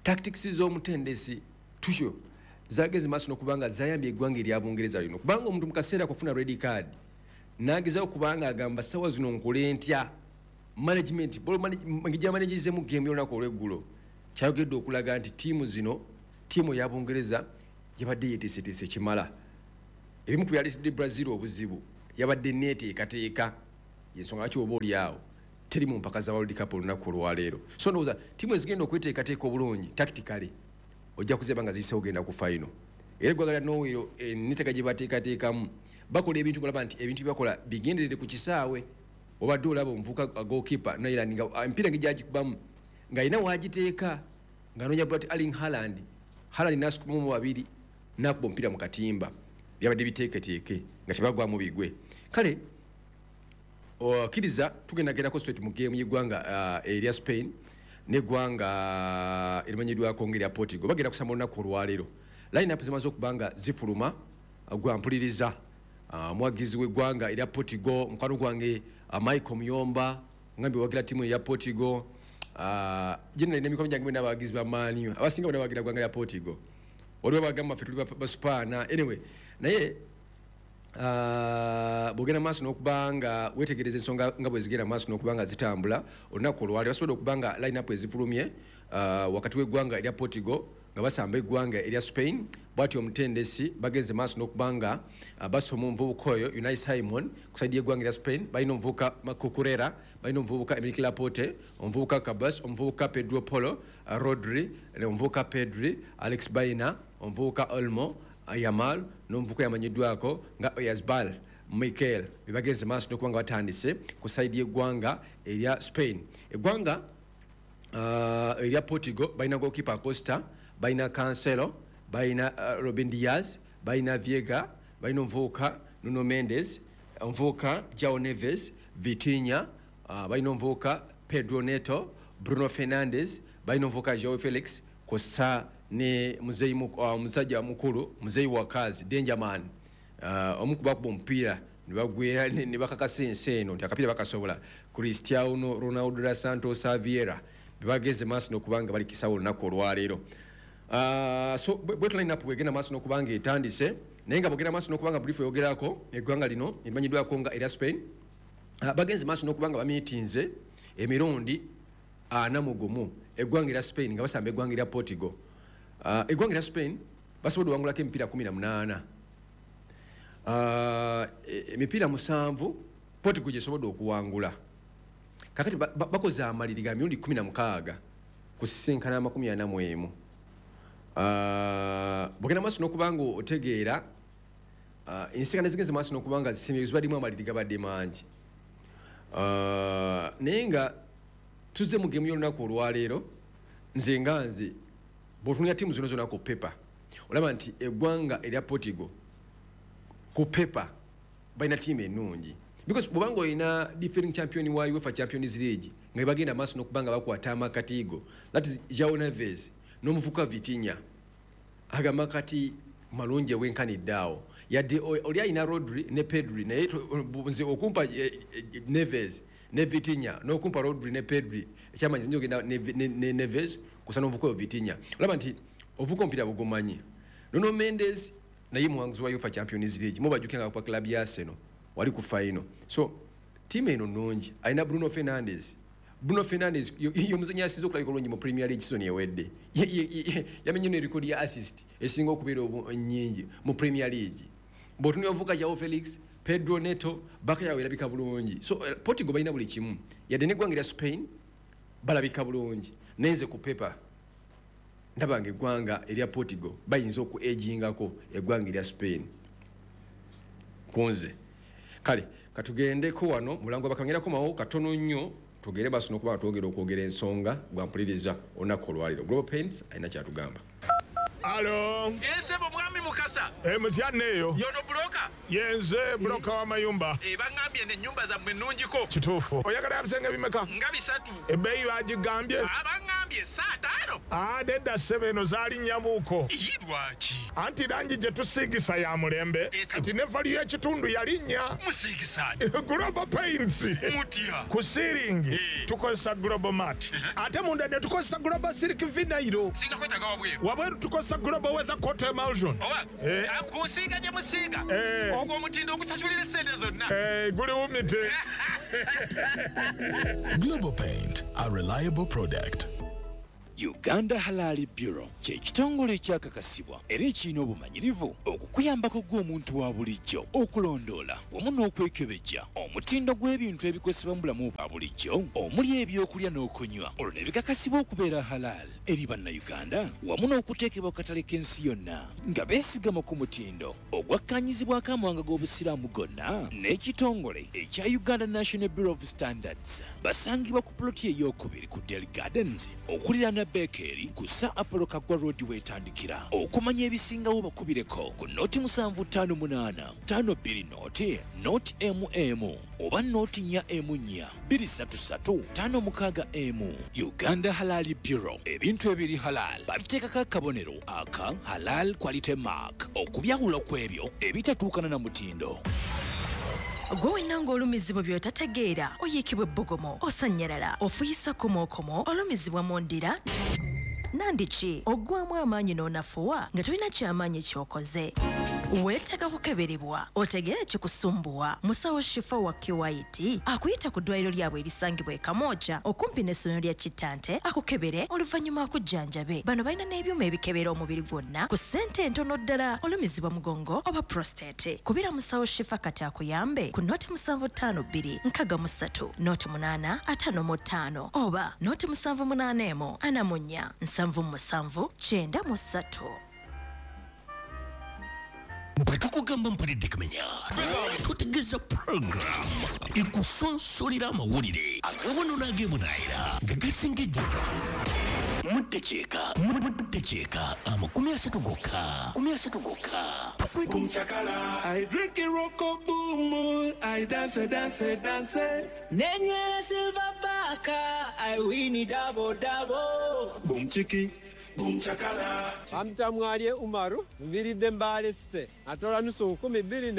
tactics z'omutendesi Tuchel zageze maaso n'okuba nga zayambye eggwanga erya Bungereza lino, kubanga omuntu mu kaseera kufuna red card n'agezaako kubanga agamba ssaawa zino nkole ntya management gyamanagizemu game y'olunaku olw'eggulo. Kyayogedde okulaga nti ttiimu zino, ttiimu eya Bungereza yabadde yeeteeseteese kimala. Ebimu ku byaleetedde Brazil obuzibu yabadde neeteekateeka, y'ensonga lwaki oba oli awo teri mu mpaka za World Cup olunaku olwaleero. So ndowooza ttiimu ezigenda okweteekateeka obulungi tactically ojja kuzeba nga ziyiseewo ogenda ku final. Era eggwanga lya Norway enneeteeka gye bateekateekamu bakola ebintu ng'olaba nti ebintu bye bakola bigenderere ku kisaawe. Obadde olaba omuvubuka goalkeeper Nyland nga emipiira ng'egyagikubamu ng'alina waagiteeka ng'anoonya Brad Erling Haaland, Haaland n'asukumamu babiri n'akuba omupiira mu katimba. Byabadde biteeketeeke nga tebagwamu bigwe. Kale okkiriza tugendagendako straight mu game y'eggwanga erya Spain n'eggwanga erimanyiddwako ng'erya Portugal. Bagenda kusamba olunaku olwaleero. Line up zimaze okuba nga zifuluma. Gwa mpuliriza omwagizi w'eggwanga erya Portugal, mukwano gwange Michael Muyomba, ngambye wagira ttiimu eya Portugal. Generally n'emikono gyange bonna abawagizi ba Man U, abasinga bonna bawagira ggwanga lya Portugal. Waliwo abagamba ffe tuli Baspaana, anyway, naye bw'ogenda maaso n'okuba nga weetegereza ensonga nga bwe zigenda maaso n'okuba nga zitambula olunaku olwaleero, basobodde okuba nga line up ezifulumye wakati w'eggwanga erya Portugal nga basamba eggwanga erya Spain. Bw'atyo omutendesi bagenze maaso n'okuba nga basoma omuvubuka oyo Unai Simon ku side y'eggwanga erya Spain. Balina omuvubuka Marco Cucurella, balina omuvubuka Emiliano Laporte, omuvubuka Cabas, omuvubuka Pedro Polo, Rodri, omuvubuka Pedri, Alex Baena, omuvubuka Olmo, Yamal, n'omuvubuka yamanyiddwako nga Oyarzabal Mikel. Bebagenze maaso n'okuba nga batandise ku side y'eggwanga erya Spain. Eggwanga erya Portugal balina goalkeeper Acosta, balina Cancelo, balina Robin Diaz, balina Viega, balina omuvubuka Nuno Mendes, omuvubuka João Neves, Vitinha, balina omuvubuka Pedro Neto, Bruno Fernandes, balina omuvubuka João Felix, kw'ossa ne musajja mukulu muzeeyi wakazi Dangerman, omu ku bakuba omupiira ne bagwera ne bakakasa ensi eno nti akapiira bakasobola, Cristiano Ronaldo dos Santos Vieira. Bebageze maaso n'okuba nga bali kisawo olunaku olwaleero. So bwetu line up bwegenda maaso n'okuba nga etandise, naye nga bwegenda maaso n'okuba nga brief eyogerako eggwanga lino erimanyiddwako nga erya Spain, bagenze maaso n'okuba nga bamiitinze emirundi ana mu gumu eggwanga erya Spain nga basamba eggwanga erya Portugal. Eggwanga erya Spain basobodde okuwangulako emipiira kumi na munaana, emipiira musanvu Portugal gyesobodde okuwangula. Kakati bakoze amaliri ga mirundi kumi na mukaaga. Kusisinkana amakumi ana mu emu. Uh, bwogenda maaso n'okuba nga otegeera uh, ensinkana ezigenze maaso n'okuba nga zisemye zibaddimu amaliri gabadde mangi. Uh, naye nga tuzze mu gemu y'olunaku olwaleero, nze nga nze bw'otunulira ttiimu zonna zonna ku paper olaba nti eggwanga erya Portugal ku paper balina ttiimu ennungi, because bw'obanga olina defending champion wa UEFA Champions League nga bagenda maaso n'okuba nga bakwata amakatigo, that is João Neves n'omuvuka Vitinha, agamba kati malungi ewenkanidde awo, yadde oli alina Rodri ne Pedri, naye nze okumpa Neves ne Vitinha n'okumpa Rodri ne Pedri ekyamanyi nyo ogenda ne Neves kusa n'omuvuka oyo Vitinha, olaba nti ovuka omupiira bugumanyi. Nuno Mendes naye muwanguzi wa UEFA Champions League, mubajjukira nga kwa club ya Arsenal wali ku final. So ttiimu eno nnungi, alina Bruno Fernandes. Bruno Fernandes y'omuzannyi asinze okulabika obulungi mu Premier League season ewedde, yamenye ne record ya assist esinga okubeera nnyingi mu Premier League. Bw'otunula ovuka João Felix, Pedro Neto, baka yawe erabika bulungi. So Portugal balina buli kimu, yadde n'eggwanga erya Spain balabika bulungi, naye nze ku paper ndaba nga eggwanga erya Portugal bayinza oku agingako eggwanga erya Spain kunze. Kale katugendeko wano mulango bakangerako mawo katono nnyo, tugere basi n'okuba twogera okwogera ensonga gwampuliriza olunaku olwaleero. Global Paints alina kyatugamba. Alo. Ese bo mwami Mukasa. Eh mutya neyo. Yono broka. Yenze broka wa mayumba. Eh bangambye ne nyumba zammwe nnungiko. Kituufu. Oyagala ebisenge bimeka? Nga bisatu. Ebbeeyi bagigambye? Abangambye saa ttaano. Ah nedda ssebe eno zaali nnyamuuko. Ii lwaki? Anti langi gye tusiigisa ya mulembe. Kati ne value y'ekitundu yalinnya. Musiigisa. Global Paints. Mutya. Ku ceiling tukozesa Global Mat. Ate munda ne tukozesa Global Silk Vinyl. Singa kwetaaga wabweru. Wabweru tukozesa Global Weather Coat Emulsion. Oba kusiiga gye musiiga. Ogwo omutindo ogusasulira essente zonna. Eh guli wumite. Global Paint, a reliable product. Uganda Halal Bureau kye kitongole ekyakakasibwa era ekirina obumanyirivu okukuyambako gw'omuntu wa bulijjo okulondoola wamu n'okwekebejja omutindo gw'ebintu ebikozesebwa mu bulamu bwa bulijjo omuli ebyokulya n'okunywa, olwo ne bikakasibwa okubeera halal eri bannayuganda wamu n'okuteekebwa ku katale k'ensi yonna nga beesigama ku mutindo ogwakkaanyizibwako amawanga g'obusiraamu gonna n'ekitongole ekya Uganda National Bureau of Standards. Basangibwa ku ploti ey'okubiri ku Del Gardens okuliraana Bekeri ku Sir Apollo Kaggwa Road weetandikira. Okumanya ebisingawo bakubireko ku noti musanvu ttaano munaana ttaano bbiri noti noti emu emu oba noti nnya emu nnya bbiri ssatu ssatu ttaano mukaaga emu. Uganda Halal Bureau, ebintu ebiri halal babiteekako akabonero aka Halal Quality Mark okubyawula ku ebyo ebitatuukana na mutindo. Gwe wenna ng'olumizibwa by'otategeera, oyiikibwa ebbugumu, osannyalala, ofuyisa komookomo, olumizibwa mu ndira nandiki oggwamu amaanyi n'onafuwa nga tolina kyamaanyi ky'okoze. Weetaaga kukeberebwa otegeere ekikusumbuwa. Musawo Shifa wa K Y T akuyita ku ddwaliro lyabwe erisangibwa e Kamwokya okumpi n'essomero lya Kitante akukebere oluvannyuma akujjanjabe. Bano balina n'ebyuma ebikebera omubiri gwonna ku ssente entono ddala. Olumizibwa mugongo oba prostate, kubira Musawo Shifa kati akuyambe ku noti musanvu ttaano bbiri nkaaga mu ssatu noti munaana ataano mu ttaano oba noti musanvu munaana emu ana mu nnya nsanvu musanvu kyenda mu ssatu. Bwe tukugamba mpulidde kumenya, tutegeeza program ekusonsolera amawulire agawano n'ag'ebunaayira nga gasengejjedwa mu ddakiika mu ddakiika amakumi asatu gokka makumi asatu gokka. Boom chakala, I drink it roko boom, I dance dance dance. Nenywera silver baka, I win it double double. Boom chiki, boom chakala. Amtamwalye Umaru, nviridde Mbale City. Atola nusu nkumi bbiri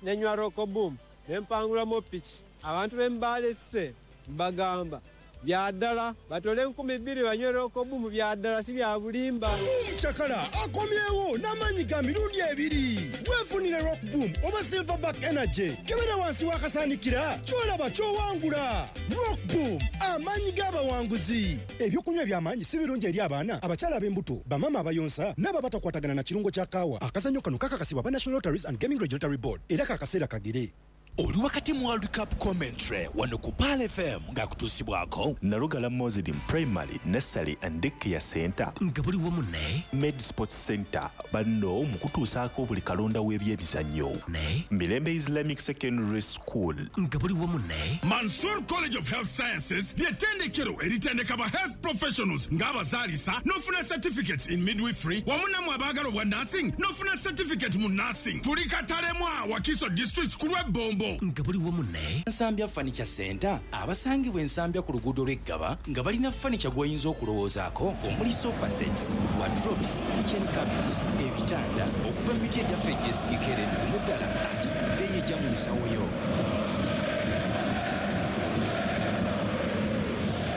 nenywa roko boom, nempangulamu piki. Abantu b'e Mbale City mbagamba bya ddala batole enkumi bbiri banywe roko boom, bya ddala si bya bulimba. Boom chakala akomyewo n'amaanyi ga mirundi ebiri. Weefunire Rock Boom oba Silverback Energy. Kebera wansi w'akasaanikira ky'olaba ky'owangula. Rock Boom, amaanyi g'abawanguzi. Ebyokunywa eby'amaanyi si birungi eri abaana, abakyala ab'embuto, bamaama abayonsa n'abo abatakwatagana na kirungo kya kaawa. Akazannyo kano kakakasibwa aba National Lotteries and Gaming Regulatory Board era kakaseera kagere. Oli wakati mu World Cup commentary wano ku Pearl F M ng'akutuusibwako Nalugala Muslim Primary Nursery and Daycare Center nga buli wamu ne Med Sports Center banno mu kutuusaako buli kalonda w'ebyemizannyo ne Mirembe Islamic Secondary School nga buli wamu ne Mansour College of Health Sciences ly'ettendekero eritendeka ba health professionals ng'abazaalisa n'ofuna certificates in midwifery wamu nammwe abaagala obwa nursing n'ofuna certificate mu nursing. Tuli Katalemwa, Wakiso District ku lw'Ebbombo nga buli wamu ne Nsambya Furniture Center abasangibwa Ensambya ku luguudo lw'Eggaba nga balina furniture gw'oyinza okulowoozaako omuli sofa sets, wardrobes, kitchen cabins, ebitanda okuva mu miti egyaffe egyesigika era emigumu ddala ate bbeeyi ejja mu nsawo yo.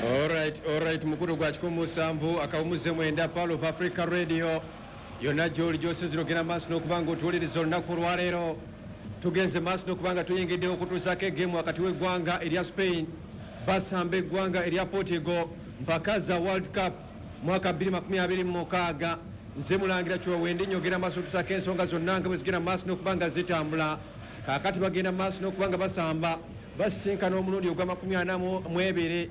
Alright, alright, mukulu gwa kikumi musanvu akawumuze mwenda Pearl of Africa Radio yonna gy'oli gy'osinziira ogenda maaso n'okuba nga otuwuliriza olunaku olwaleero. Tugenze maaso n'okuba nga tuyingidde okutuusaako egeemu wakati w'eggwanga erya Spain basamba eggwanga erya Portugal mpaka za World Cup mwaka bbiri makumi abiri mu mukaaga. Nze Mulangira Kiwewendi nyogera maaso otuusaako ensonga zonna nga bwe zigenda maaso n'okuba nga zitambula. Kaakati bagenda maaso n'okuba nga basamba basisinkana omulundi ogwa makumi ana mu ebiri,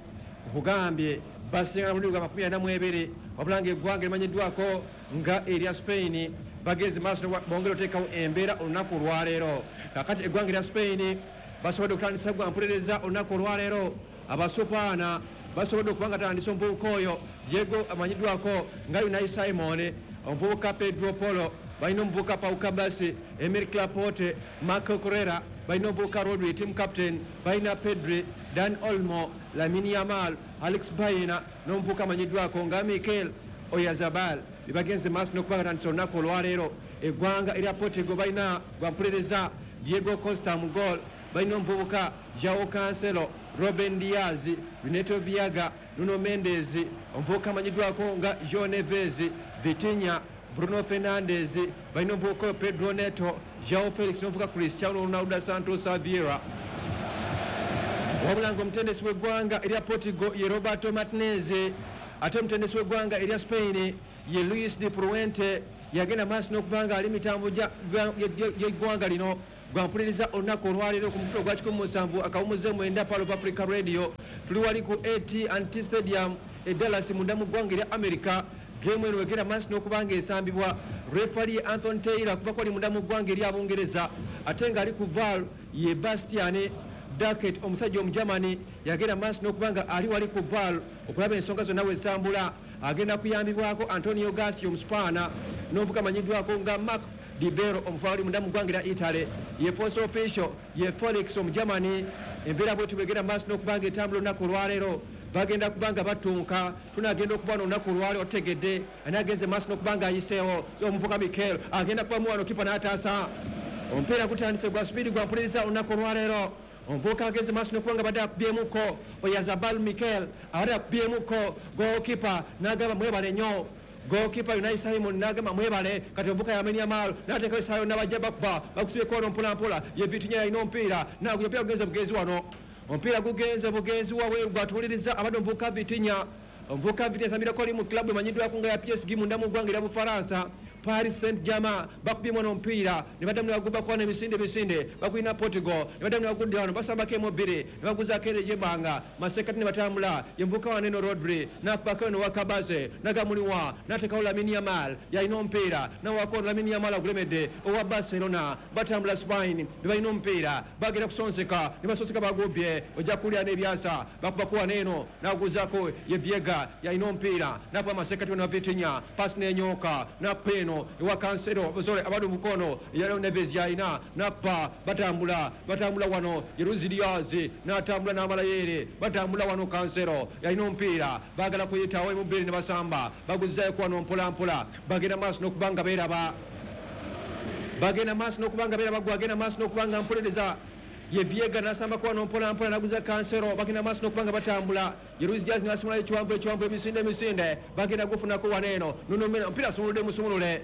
nkugambye basisinkana omulundi ogwa makumi ana mu ebiri, wabula ng'eggwanga erimanyiddwako nga erya Spain bagenze maaso bongera oteekawo embeera olunaku olwaleero. Kaakati eggwanga erya Spain basobodde okutandisa gwa mpulereza olunaku olwaleero. Abasupaana basobodde okuba nga tandisa omuvubuka oyo Diego amanyiddwako nga Unai Simon, omuvubuka Pedro Polo, balina omuvubuka Pau Kabasi, Emil Laporte, Marco Correa, balina omuvubuka Rodri team captain, balina Pedri, Dan Olmo, Lamine Yamal, Alex Baena n'omuvubuka amanyiddwako nga Mikel Oyarzabal. Bibagenze maaso n'okuba nga tandisa olunaku olwaleero. Eggwanga erya Portugal balina gwampulereza Diego Costa mu goal, balina omuvubuka João Cancelo, Ruben Diaz, Renato Viaga, Nuno Mendes, omuvubuka amanyiddwako nga João Neves, Vitinha, Bruno Fernandes, balina omuvubuka Pedro Neto, João Felix n'omuvubuka Cristiano Ronaldo Santos Vieira. Wabula nga omutendesi w'eggwanga erya Portugal ye Roberto Martinez, ate omutendesi w'eggwanga erya Spain ye Luis de Fuente yagenda maaso n'okuba nga ali mitambo gy'eggwanga lino gwampuliriza olunaku olwaleero ku mukutu ogwa kikumi musanvu akawumuze mwenda Pearl of Africa Radio. Tuli wali ku A T and T Stadium e Dallas munda mu ggwanga erya America. Geemu eno egenda maaso n'okuba nga esambibwa. Referee Anthony Taylor okuva kwali munda mu ggwanga erya Bungereza, ate ng'ali ku V A R ye Bastian Duckett omusajja Omugermany yagenda maaso n'okuba nga ali wali ku V A R okulaba ensonga zonna wezambula. Agenda kuyambibwako Antonio Garcia omuspaana n'omuvuka amanyiddwako nga Mark Dibero omufaali munda mu ggwanga erya Italy. Ye force official ye Felix Omugermany. Embeera bwetyo bwegenda maaso n'okuba nga etambula olunaku olwaleero. Bagenda kuba nga batunka, tunagenda okuba olunaku olwaleero otegedde ani agenze maaso n'okuba nga ayiseewo. Omuvuka Mikel agenda kuba muwano kipa n'ataasa. Omupiira gutandise gwa sipiidi gwa mpuliriza olunaku olwaleero. Omuvubuka ageze maaso n'okuba nga badde akubyemuko Oyarzabal Mikel abadde akubyemuko goalkeeper n'agamba mwebale nnyo. Goalkeeper Unai Simon n'agamba mwebale. Kati omuvubuka Lamine Yamal n'ateekawo essaawa yonna bajja bakuba bakusibyeko wano mpolampola. Ye Vitinha yalina omupiira n'aguya omupiira gugenze bugenzi wano, omupiira gugenze bugenzi wabweru gwatuwuliriza abadde omuvubuka Vitinha. Omuvubuka Vitinha asambirako ali mu club emanyiddwako nga ya P S G munda mu ggwanga erya Bufalansa Paris Saint-Germain. Bakubyemu wano omupiira ne baddamu ne bagubako wano emisinde emisinde bagulina Portugal ne baddamu ne bagudde wano basambako emu bbiri ne baguzaako ere egy'ebbanga masekati ne batambula. Ye muvubuka wano eno Rodri n'akubako eno Wakabaze n'agamuliwa n'ateekawo Lamine Yamal yalina omupiira n'awako Lamine Yamal agulemedde owa Barcelona. Batambula Spain be balina omupiira bagenda kusonseka ne basonseka bagubye ojja kuwulira n'ebyasa bakubako wano eno n'aguzaako ye Viega yalina omupiira n'akuba masekati wano Vitinha pasi n'enyooka n'akupa eno ewa Cancelo sorry abadde mukono yali Neves yalina n'akupa batambula batambula wano ye Luis Diaz n'atambula n'amala yeere batambula wano Cancelo yalina omupiira baagala kuyitawo emu bbiri ne basamba baguzaayo wano mpola mpola bagenda maaso n'okuba nga beeraba bagenda maaso n'okuba nga beeraba gwagenda maaso n'okuba nga mpolereza ye Viega n'asambako wano mpola mpola n'aguza Cancelo bagenda maaso n'okuba nga batambula ye Luis Diaz n'asimulayo ekiwanvu ekiwanvu emisinde emisinde bagenda gufunako wano eno Nuno Mendes omupiira asumuludde musumulule.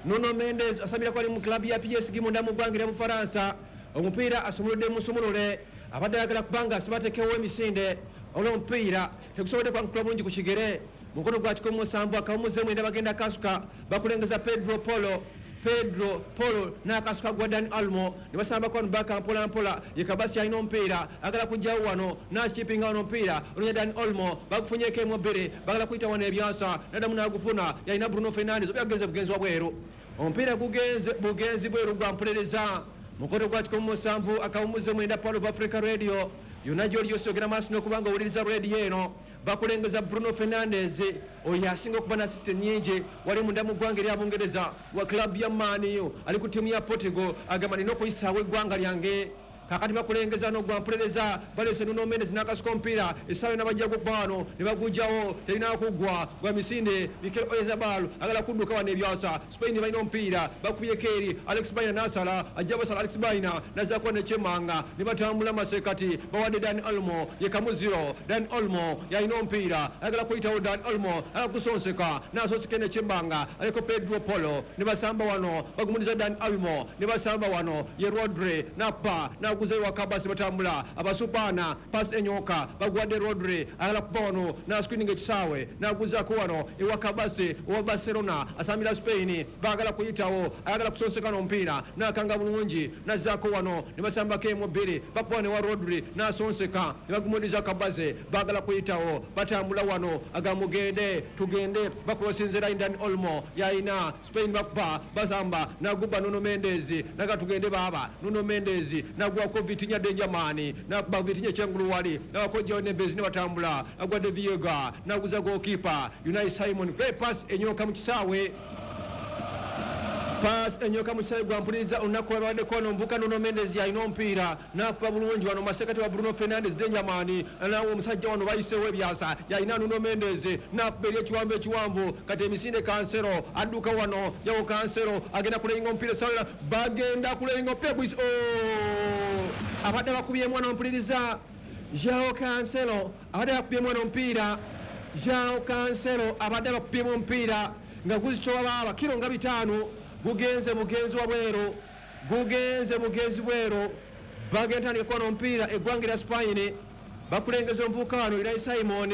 Nuno Mendes asambirako ali mu club ya P S G munda mu ggwanga erya Bufalansa. Omupiira asumuludde musumulule abadde ayagala kubanga asibatekewo emisinde olw'omupiira tegusobodde kwankula bulungi ku kigere. Mukono gwa kikumi musanvu akawumuze mwenda bagenda kasuka bakulengeza Pedro Polo. Pedro Polo n'akasuka gwa Dani Olmo ne basambako wano baka mpola mpola. Ye Kabasi alina omupiira, agala kujjawo wano n'akipinga wano omupiira ononya Dani Olmo, bagufunyeeko emu bbiri, bagala kuyita wano ebyasa, naddamu n'agufuna, yalina Bruno Fernandes oba yagenze bugenzi wa bweru. Omupiira gugenze bugenzi bweru gwa mpulereza. Mukoto gwa kikumi musanvu akawumuze mwenda Pearl of Africa Radio yonna gy'oli yose ogenda maaso n'okuba nga owuliriza radio eno. Bakulengeza Bruno Fernandes oyo asinga okuba na assist nnyingi wali munda mu ggwanga erya Bungereza wa club ya Man U, ali ku ttiimu ya Portugal, agamba nina okuyisaawo eggwanga lyange. Kakati bakulengeza n'ogwa mpulereza, baleese Nuno Mendes n'akasuka omupiira, essaawa yonna bajja gukuba wano ne bagujjawo, terina kuggwa gwa misinde. Mikel Oyarzabal agala kudduka wano ebyasa. Spain balina omupiira, bakubyeko eri Alex Baina n'asala, ajja basala Alex Baina n'azzaako nekyemanga ne batambula masekati, bawadde Dani Olmo ye kamuziro. Dani Olmo yalina omupiira, ayagala kuyitawo Dani Olmo, agala kusonseka n'asonseka nekyemanga, aliko Pedro Polo ne basamba wano, bagumuliza Dani Olmo ne basamba wano ye Rodri napa na guze wa Kabasi batambula abasupana pass enyoka bagwadde Rodri agala kuba wano na screening ekisaawe naguzaako wano ewa Kabasi owa Barcelona asambira Spain, baagala kuyitawo, ayagala kusonseka n'omupiira n'akanga bulungi nazzaako wano ne basambako emu bbiri, bakuba ne wa Rodri n'asonseka ne bagumuliza Kabasi, baagala kuyitawo, batambula wano agamugende tugende, bakulosinze line Dani Olmo yalina Spain bakuba basamba naguba Nuno Mendes naga tugende baaba Nuno Mendes nagwa ko Vitinha Denjamani nakuba Vitinha kyengulu wali nabako Joao Neves ne batambula agwadde Viega naguza goalkeeper Unai Simon. Great pass enyoka mu kisaawe, pass enyoka mu kisaawe gwa mpuliriza olunaku lwabaddeko wano omuvuka Nuno Mendes yalina omupiira n'akuba bulungi wano masekati wa Bruno Fernandes Denjamani, nawe omusajja wano bayiseewo ebyasa, yalina Nuno Mendes n'akuba eri ekiwanvu ekiwanvu, kati emisinde Cancelo adduka wano, yawo Cancelo agenda kuleyinga omupiira essaawa, bagenda kuleyinga omupiira guyise oh! Abadde bakubyemu wano mpuliriza Joao Cancelo abadde bakubyemu wano omupiira, Joao Cancelo abadde bakubyemu omupiira nga guzikyoba baaba kiro nga bitaano, gugenze bugenzi wa bweru, gugenze bugenzi bweru. Bagenda tandika kuona omupiira eggwanga erya Spain, bakulengeza omuvubuka wano Unai Simon.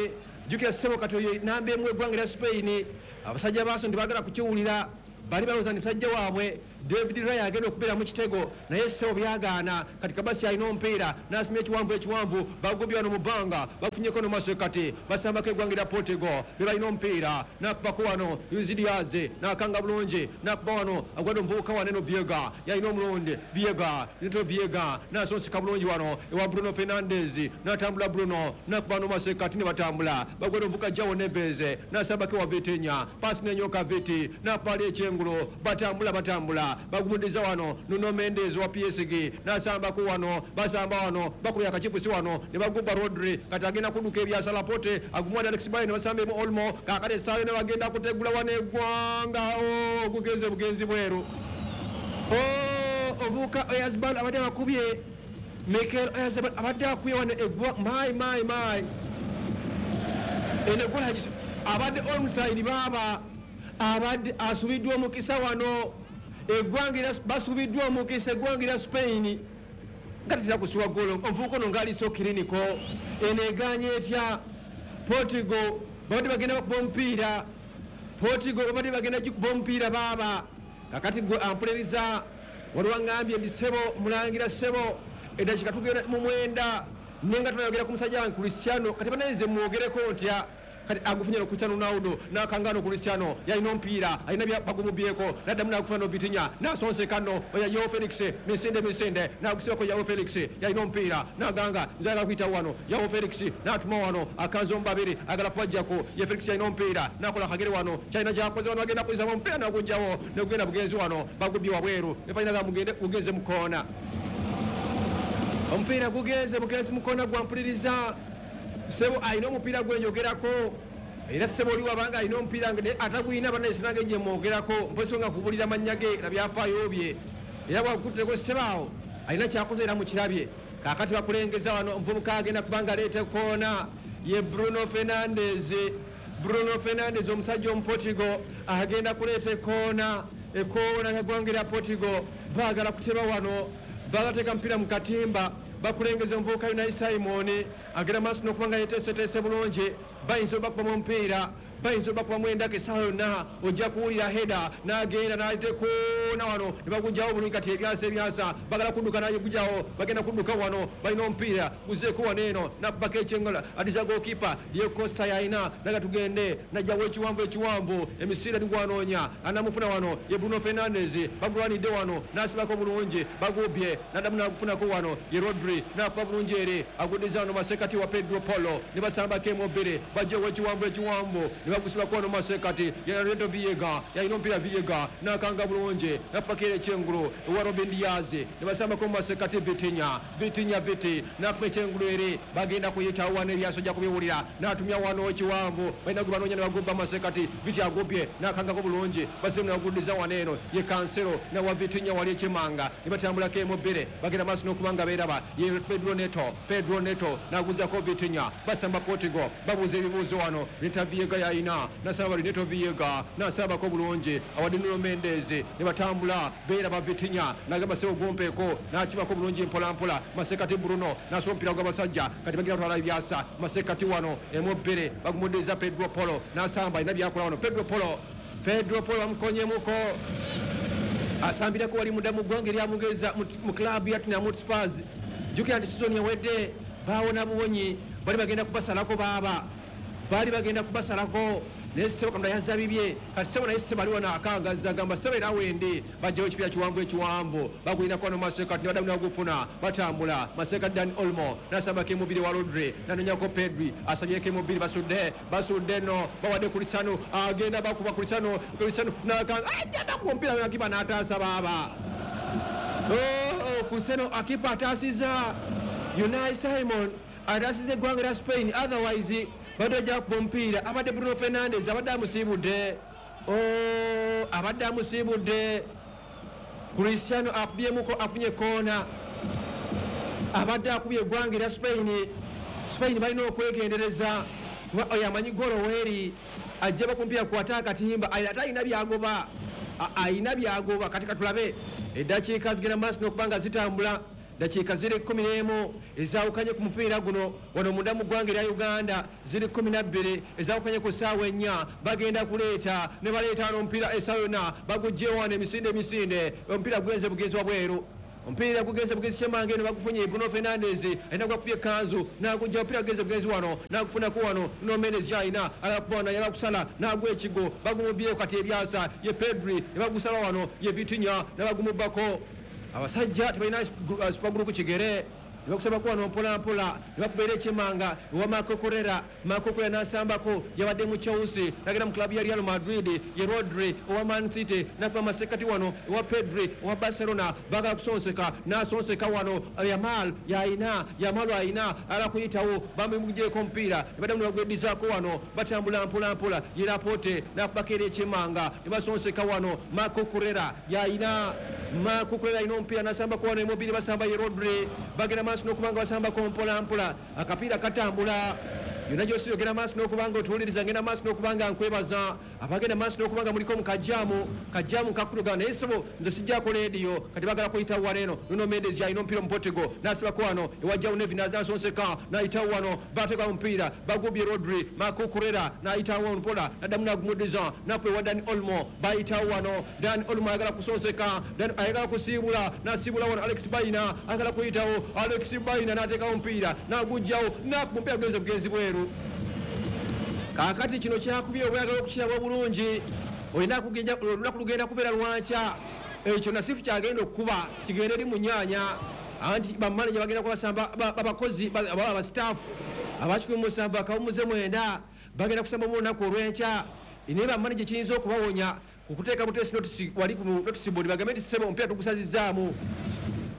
Jjukira ssebo kati oyo namba emu eggwanga erya Spain, abasajja baaso ntibagala kukiwulira, bali balowooza nti musajja waabwe David Raya agenda okubeera mu kitego, naye ssebo byagaana. Kati Kabasi alina omupiira n'asimya ekiwanvu ekiwanvu, bagubye wano mu bbanga, bafunyeko nomasekati, basambako eggwanga erya Portugal be balina omupiira, n'akubako wano Luis Diaz n'akanga bulungi, n'akuba wano agwadde omuvubuka wano eno Viega yalina omulundi Viega Neto Viega n'asonseka bulungi wano ewa Bruno Fernandes n'atambula Bruno n'akuba nomasekati ne batambula, bagwadde omuvubuka Joao Neves n'asambako ewa Vitinha, paasi n'enyoka Viti n'akuba ali ekyengulo, batambula batambula bagumudiza wano Nuno Mendes wa P S G n'asambako wano, basamba wano bakubya akachipusi wano ne baguba Rodri, kati agenda kudduka ebyasa Laporte agumwadde Alex Baina basambemu Olmo, kaakati essaawa yonna bagenda kutegula wano eggwanga oh, gugenze bugenzi bweru. Oh, omuvubuka Oyarzabal abadde bakubye Mikel Oyarzabal abadde akubye wano eggwa my my my eno eggwala abadde onside baaba abadde asubiddwa omukisa wano eggwanga basubiddwa omukisa eggwanga erya Spain nga tetera kusiwa ggoolo. Omuvubuka ono ng'aliso kiriniko eno egaanye etya Portugal babadde bagenda bakuba omupiira, Portugal babadde bagenda gikuba omupiira baaba. Kakati gwe ampuliriza waliwo aŋŋambye nti ssebo mulangira ssebo eddakiika tugenda mu mwenda nenga tunayogera ku musajja wange Cristiano, kati bannayinze mwogereko ntya? Kati agufunye no Cristiano Ronaldo n'akanga no Cristiano yalina omupiira alina bagumubyeko n'addamu n'agufuna no Vitinha n'asonseka no oya Joao Felix misinde misinde n'agusibako Joao Felix yalina omupiira n'aganga nze agala kuyitawo wano Joao Felix n'atuma wano akanze omu babiri agala kubajjako ye Felix yalina omupiira n'akola akagere wano kyalina kyakoze wano bagenda kuyisamu omupiira n'agujjawo negugenda bugenzi wano bagubye wabweru efaanana nga mugende gugenze mu koona, omupiira gugenze bugenzi mu koona gwa mpuliriza. Ssebo alina omupiira gwenjogerako era ssebo oli wabanga alina omupiira atagulina bannaye gye mwogerako mpozi nga kubulira mannya ge na byafaayo bye, era bwakutteko ssebaawo alina kyakoze era mukirabye. Kaakati bakulengeza wano omuvubuka agenda kubanga aleeta koona ye Bruno Fernandes. Bruno Fernandes omusajja omuportugal agenda kuleeta ekoona, ekoona y'eggwanga erya Portugal baagala kuteba wano, bagateeka mpira mu katimba, bakulengeza omuvubuka Unai Simon agenda maaso n'okuba nga yeteeseteese bulungi, bayinza obakubamu omupiira. Bayinza obakubamu endaka essaawa yonna, ojja kuwulira heda n'agenda n'atekoona wano ne bagugyawo bulungi. Kati ebyasa ebyasa bagala kudduka n'agugyawo, bagenda kudduka wano, balina omupiira guzeeko wano eno nabbako ekyengala adiza goalkeeper Diego Costa yalina naga tugende najjawo ekiwanvu ekiwanvu emisiira ligwanoonya anamufuna wano ye Bruno Fernandes bagulwanidde wano n'asibako bulungi bagubye naddamu n'agufunako wano ye Rodri n'akuba bulungi ere aguddiza wano masekati wa Pedro Polo ne basambako emobere bajjawo ekiwanvu ekiwanvu ne bagusibako wano masekati ye Renato Viega yalina omupiira Viega n'akanga bulungi n'apakira ekyengulu ewa Robin Diaz ne basambako masekati Vitinha Vitinha Viti n'akuba ekyengulu ere bagenda kuyitawo wano ebyaso ojja kubiwulira n'atumya wano ekiwanvu balina gwe banoonya ne bagobba masekati Viti agobye n'akangako bulungi basemu ne baguddiza wano eno ye Cancelo nawa Vitinha wali ekimanga ne batambulako emobere bagenda maaso n'okuba nga beeraba ye Pedro Neto Pedro Neto n'aguzako Vitinha basamba Portugal babuuza ebibuuzo wano Renato Viega yalina nasaba Renato Viega nasabako bulungi awadde Nuno Mendes ne batambula beeraba Vitinha n'agamba sebo gumpeeko n'akibako bulungi mpolampola masekati Bruno n'asoma omupiira gw'abasajja kati bagenda kutwala ebyasa masekati wano emobere bagumuddiza Pedro Polo n'asamba alina byakola wano Pedro Polo Pedro Polo bamukonyemuko asambirako wali munda mu ggwanga erya Bungereza mu club ya Tottenham Hotspur. Jjukira nti sizoni ewedde baawona buwonyi, bali bagenda kubasalako baaba baali bagenda kubasalako naye ssebo Katonda yazza bibye. Kati ssebo naye ssebo ali wano akangazza agamba ssebo era wende bajjawo ekipiira kiwanvu ekiwanvu bagulinako wano masekati ne baddamu ne bagufuna batambula masekati Dan Olmo n'asambako emubiri wa Rodri n'anoonyako Pedri asabyeko emubiri basudde basudde nno bawadde Cristiano agenda bakuba Cristiano Cristiano n'akanga ajja bakuba omupiira nakipa n'ataasa baaba. Oh, Cristiano akipa ataasizza Unai Simon ataasizza eggwanga lya Spain, otherwise badde ajja kuba omupiira abadde Bruno Fernandes abadde amusiibudde. Oh, abadde amusiibudde. Cristiano akubyemuko afunye koona, abadde akubye eggwanga erya Spain. Spain balina okwegendereza kuba oyo amanyi golo weeri ajja bakumpiira kukwata akatimba ate alina byagoba alina byagoba. Kati katulabe eddakiika zigenda maaso n'okuba nga zitambula dakiika ziri kkumi n'emu ezaawukanye ku mupiira guno wano munda mu ggwanga erya Uganda ziri kkumi na bbiri ezaawukanye ku ssaawa ennya bagenda kuleeta ne baleeta wano omupiira essaawa yonna baguggyewo wano emisinde emisinde omupiira gugenze bugenzi wabweru omupiira gugenze bugenzi kyemanga eno bagufunye Bruno Fernandes alina gwakubye ekkanzu n'agujja omupiira gugenze bugenzi wano n'agufunako wano Nuno Mendes yalina alakubona yala kusala n'agwa ekigo bagumubyeko kati ebyasa ye Pedri ne bagusala wano ye Vitinha ne bagumubbako. Abasajja tebalina supagulu ku kigere ne bakusabako wano mpolampola ne bakubeera ekyemanga ewa Marco Correa Marco Correa n'asambako yabadde mu Chelsea n'agenda mu club ya Real Madrid ye Rodri owa Man City n'akuba masekati wano ewa Pedri owa Barcelona bagala kusonseka n'asonseka wano Yamal yalina Yamal ayina ala kuyitawo bamugyeko omupiira ne baddamu ne bagweddizaako wano batambula mpolampola ye Laporte n'akubako era ekyemanga ne basonseka wano Marco Correa yalina Marco Correa alina omupiira n'asambako wano emobiri basamba ye Rodri bagenda maaso n'okuba nga basambako mpolampola akapiira katambula yonna gy'osi ogenda maaso n'okuba nga otuwuliriza ngenda maaso n'okuba nga nkwebaza abagenda maaso n'okuba nga muliko mu kajjaamu kajjaamu kakutuga naye ssebo nze sijjako leediyo kati bagala kuyitawo wano eno Nuno Mendes yalina omupiira omuportugal n'asibako wano ewa João Neves n'asonseka n'ayitawo wano bateeka omupiira bagubye Rodri Marco Correa n'ayitawo mpola n'addamu n'agumuddiza n'akuba ewa Dani Olmo bayitawo wano Dani Olmo ayagala kusonseka ayagala kusiibula n'asiibula wano Alex Baina ayagala kuyitawo Alex Baina n'ateekawo omupiira n'aguggyawo n'akuba omupiira gugenze bugenzi bweru. Kaakati kino kyakubye obwagala okukiraba obulungi olina kugenda olunaku lugenda kubeera lwankya ekyo nasifu kyagenda okukuba kigende eri mu nnyaanya anti bamaneja bagenda kubasamba abakozi aba abasitaafu abakikumi musanvu akawumuze mwenda bagenda kusamba mu lunaku olw'enkya naye bamaneja kiyinza okubawonya kukuteeka buteesi notisi wali ku notisi board bagambe nti ssebo omupiira tugusazizzaamu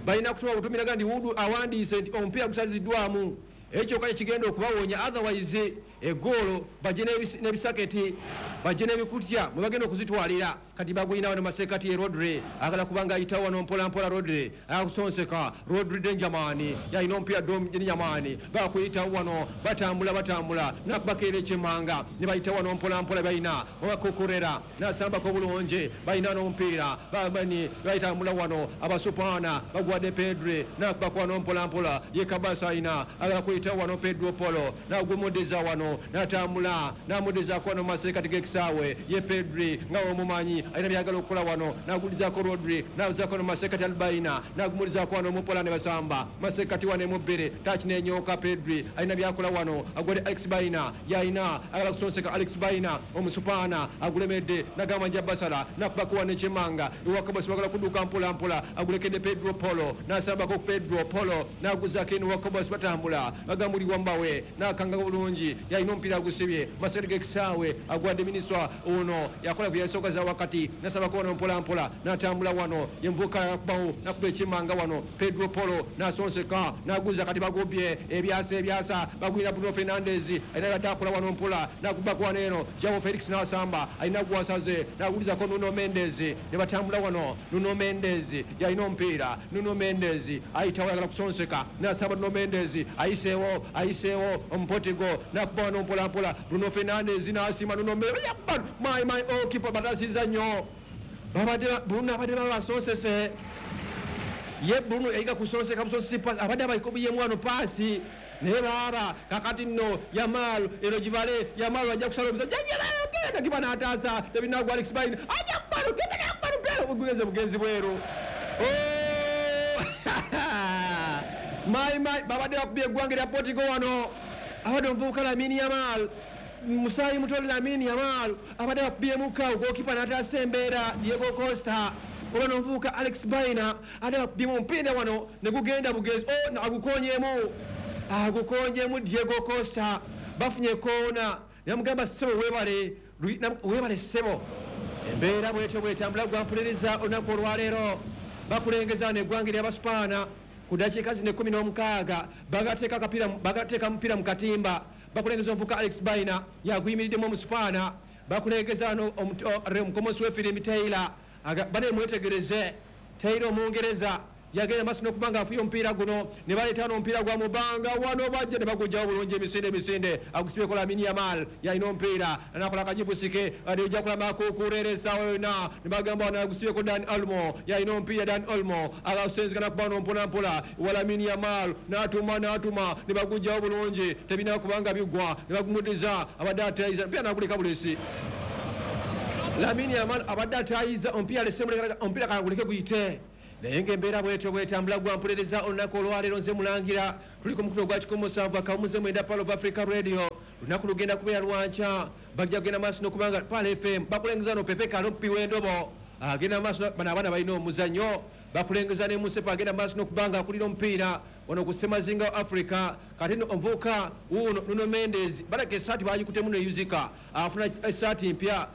balina kutuma butumiraga nti Wudu awandiise nti omupiira gusaziddwamu ekyo kale kigenda okubawonya otherwise egoolo bajje n'ebisaketi Bajje n'ebikutya mwe bagenda okuzitwalira. Kati bagwina wano masekati ye Rodri agala kubanga ayitawo wano mpola mpola. Rodri akusonseka. Rodri Denjamani yalina omupiira Denjamani bakuyitawo wano batambula batambula nakubakeera ekyemanga ne bayitawo wano mpola mpola balina obakukurera nasambako bulungi balina n'omupiira bamani bayitambula wano abasupaana bagwadde Pedri nakubako wano mpola mpola ye Kabasa alina agala kuyitawo wano Pedro Polo nagumudiza wano natambula namudizaako wano masekati g'ekisaawe ye Pedri nga omumanyi alina byagala okukola wano nagulizaako Rodri nazaako no masekati Albaina nagumulizaako wano mupola ne basamba masekati wano emubbere tachi nenyoka Pedri alina byakola wano agwade Alex Baina yalina agala kusonseka Alex Baina omusupaana agulemedde nagamba nja basala nakubako wano ekyemanga ewakabasi bagala kudduka mpola mpola agulekedde Pedro Polo nasambako Pedro Polo naguzaako eno wakabasi batambula bagamuli wambawe nakanga bulungi yalina omupiira agusibye masekati g'ekisaawe agwadde miniswa ono yakola ku yasooka za wakati nasabako wano mpola mpola natambula wano yenvuka yakubawo nakuba ekyemanga wano Pedro Polo nasonseka naguza kati bagobye ebyasa ebyasa bagwina Bruno Fernandes alina badde akola wano mpola nakubako wano eno Joao Felix nasamba alina gwasaze nagulizako Nuno Mendes ne batambula wano Nuno Mendes yalina omupiira Nuno Mendes ayitawo ayagala kusonseka nasamba Nuno Mendes ayiseewo ayiseewo omupotigo nakuba wano mpola mpola Bruno Fernandes nasima Nuno Mendes my my oh keeper batasiza nnyo babadde Bruno abadde babasonsese ye Bruno yayiga kusonseka busonsesi paasi abadde abayikobiyemu wano paasi naye baaba kakati nno Yamal eno gibale Yamal ajja kusala omusajja genda kiba n'ataasa tebinagwa Alex Baina ajja kubano tebinagwa mpeero ogugeze bugenzi bweru. My my babadde bakubye eggwanga erya Portugal wano abadde omuvubuka Lamine Yamal musaayi muto Lamine Yamal abadde bakubyemuka goalkeeper n'ataasa embeera Diego Costa oba n'omuvubuka Alex Baina ate bakubyemu omupiira wano ne gugenda bugenzi oh agukonyemu agukonjemu Diego Costa bafunye koona namugamba ssebo weebale weebale ssebo. Embeera bwetyo bwetambula gwampuliriza olunaku olwaleero bakulengeza neggwanga ery'abasupaana ku ddakiika zino ekkumi n'omukaaga bagateeka akapiira bagateeka mupiira mu katimba bakulengeza omuvuka Alex Baina yaguyimiriddemu omusupaana bakulengeza no omukomosi w'efirimu Taylor bane mwetegereze Taylor omungereza yagenda maaso n'okuba nga afuye omupiira guno ne baleeta n'omupiira gwa mubanga wano bajja ne bagujjawo bulungi emisinde emisinde agusibyeko Lamine Yamal yalina omupiira nakola akajibusike ojja kulaba kukurera essaawa yonna ne bagamba wano agusibyeko Dan Olmo yalina omupiira Dan Olmo agasenzeka nakuba wano mpola mpola wa Lamine Yamal n'atuma n'atuma ne bagujjawo bulungi tebirina kubanga bigwa ne bagumudiza abadde atayiza omupiira n'aguleka bulesi Lamine Yamal abadde atayiza omupiira alese omupiira kaguleke guyite naye ng'embeera bwetyo bwetambula gwampuliriza olunaku olwaleero nze mulangira tuli ku mukutu ogwa kikumi musanvu akawumuze mwenda Pearl of Africa Radio lunaku lugenda kubeera lwankya bajja kugenda maaso n'okubanga Pearl F M bakulengeza no Pepe Kalo omupi w'endobo agenda maaso bano abaana balina omuzannyo bakulengeza ne Musepa agenda maaso n'okubanga akulira omupiira wano ku Ssemazinga wa Africa kati nno omuvubuka wuuno Nuno Mendes balaka essaati bagikutemu neyuzika afuna essaati mpya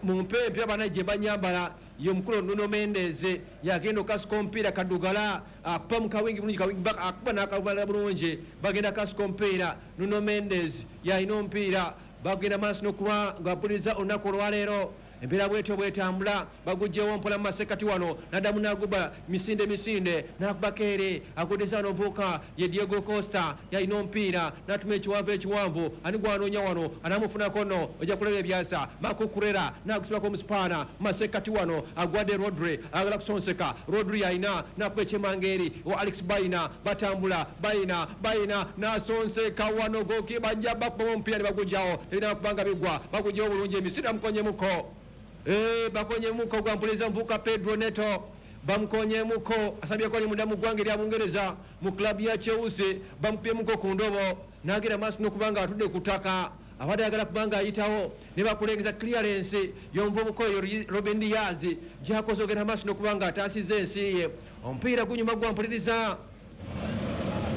mumpe empya bana gye banyambala ye omukulu Nuno Mendes yagenda okasuka omupiira kaddugala akuba mu kawingi bulungi kawingi akuba n'akabala bulungi bagenda kasuka omupiira Nuno Mendes yalina omupiira bagenda maaso n'okuba nga mpuliriza olunaku olwaleero embeera bwetyo bwetambula bagugyewo mpola mu masekati wano naddamu n'aguba misinde misinde n'akubako ere agudeza wano omuvubuka ye Diego Costa yalina omupiira n'atuma ekiwanvu ekiwanvu ani gwanoonya wano anamufunako nno ojja kulaba ebyasa Marco Kurera n'agusibako omusipaana mu masekati wano agwadde Rodri agala kusonseka Rodri yalina n'akuba ekyemanga eri wa Alex Baina batambula Baina Baina n'asonseka wano goki bajja bakubamu omupiira ne bagugyawo tebirina kubanga bigwa bagugyewo bulungi emisinde bamukonyemuko Eh bakonyemuko gwampuliriza mvuka Pedro Neto bamukonyemuko asambyeko ali munda mu ggwanga erya Bungereza mu club ya Chelsea bamupyemuko ku ndobo n'agenda maaso n'okuba nga atudde ku ttaka abadde ayagala kubanga ayitawo ne bakulengeza clearance y'omuvubuka oyo Robin Diaz gy'akoze ogenda maaso n'okuba nga ataasizza ensi ye omupiira gunyuma gwampuliriza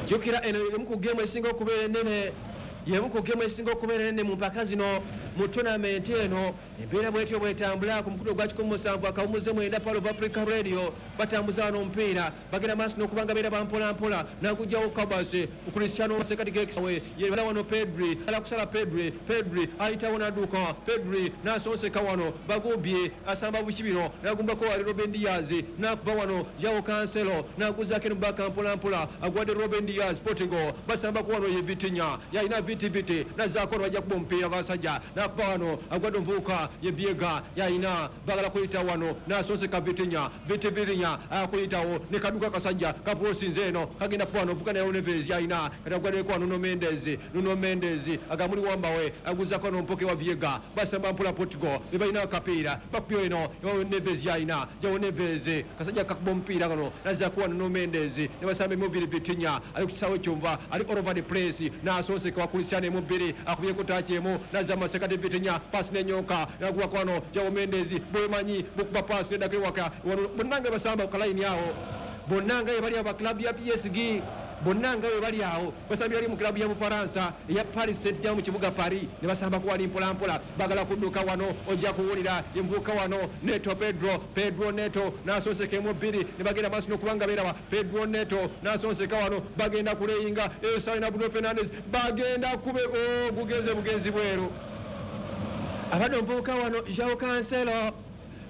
jjukira eno emu ku geemu esinga okubeera ennene yemu ku geemu esinga okubeera ennene mu mpaka zino mu tournament eno Embeera bwetyo bwetambula ku mukutu ogwa kikumi musanvu akawumuze mwenda Pearl of Africa Radio. Batambuza wano omupiira, bagenda maaso n'okubanga beera bampolampola n'agugyawo Kabase Cristiano Sekati gekisawe yebala wano Pedri ala kusala Pedri, Pedri ayitawo n'adduka, Pedri n'asonseka wano bagubye asamba bukibiro n'agumbako wali Ruben Dias n'akuba wano João Cancelo n'aguzaako eno baka mpolampola agwadde Ruben Dias. Portugal basambako wano ye Vitinha yalina viti viti n'azzaako bajja kuba omupiira gw'abasajja n'akuba wano agwadde omuvubuka ye Viega yalina bagala kuyita wano n'asonseka Vitinha, Viti Vitinha akuyitawo ne kaduka kasajja kapulosinze eno kagenda kuba wano ovuga naye Neves yalina kati agwaddeko wano Nuno Mendes, Nuno Mendes agamuli wambawe aguzaako wano mpoke wa Viega basamba mpola Portugal be balina akapiira bakubye eno Neves yalina João Neves kasajja kakuba omupiira kano n'azzaako wano Nuno Mendes ne basamba emuviri Vitinha ali ku kisaawe kyonva ali all over the place n'asonseka wa Cristiano emu bbiri akubyeko taaki emu n'azza masekati Vitinha pasi n'enyoka n'aguwa kwano João Mendes bwemanyi bukuba pasi neddako ewaka wano bonna nga basamba ku kalayini awo bonna nga bali aba club ya P S G bonna nga bali awo basambye bali mu club ya Bufaransa eya Paris Saint-Germain mu kibuga Paris ne basambako wali mpolampola bagala kudduka wano ojja kuwulira envuka wano Neto Pedro, Pedro Neto n'asonseka emu bbiri ne bagenda maaso n'okubanga beeraba Pedro Neto n'asonseka wano bagenda kuleyinga Esalina Bruno Fernandes bagenda kube oh, gugenze bugenzi bweru abadde omuvubuka wano João Cancelo,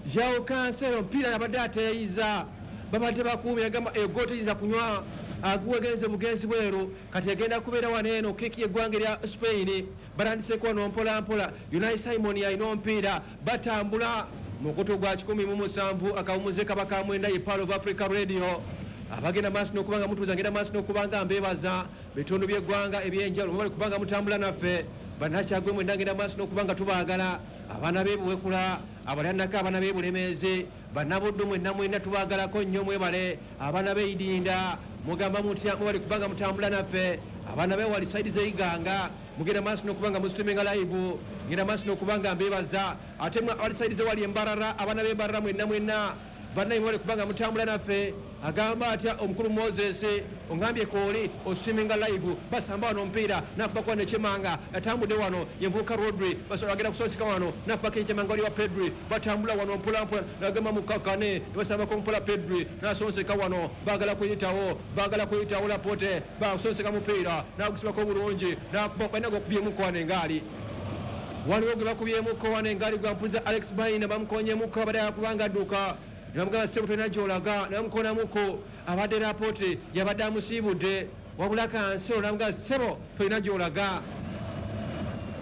João Cancelo mpira abadde ateeyiza babadde bakuumye agamba ego teyinza kunywa aguwegenze bugenzi bweru kati agenda kubeera wano eno keki y'eggwanga erya Spain batandiseeko wano mpola mpola Unai Simon alina omupiira batambula mukutu gwa kikumi mu musanvu akawumuze kaba ka mwenda ye Pearl of Africa Radio. Abagenda maaso n'okubanga mutuuza ngenda maaso n'okubanga mbeebaza bitundu by'eggwanga ebyenjawulo mubali kubanga mutambula naffe bannakyagwe mwenda ngenda maaso n'okubanga tubaagala abaana b'ebuwekula abalannako abaana b'ebulemeezi bannabuddu mwenna mwenna tubaagalako nnyo mwebale abaana b'eidinda mugamba mutya mubali kubanga mutambula naffe abaana bewali saidi z'eiganga mugenda maaso n'okubanga musitreaminga live ngenda maaso n'okubanga mbeebaza ate mwe abali saidi z'ewali embarara abaana b'embarara mwenna mwenna bannaye mwebale kubanga mutambula naffe agamba atya omukulu Moses ongambye kooli ostreaminga live basamba wano omupiira nakubako nekyemanga atambudde wano yenvuka Rodri basobola agenda kusonseka wano nakubako ekyemanga wali wa Pedri batambula wano mpolampola nagamba mukakane ne basambako mpola Pedri nasonseka wano baagala kuyitawo baagala kuyitawo Laporte basonseka mupiira nagusibako bulungi nakuba balina gokubyemuko wano engaali waliwo gwe bakubyemuko wano engaali gwampuliza Alex Baina bamukonyemuko abadde akubanga adduka namugamba ssebo tolina gy'olaga namukonamuko abadde Laporte yabadde amusiibudde wabula Cancelo namugamba ssebo tolina gy'olaga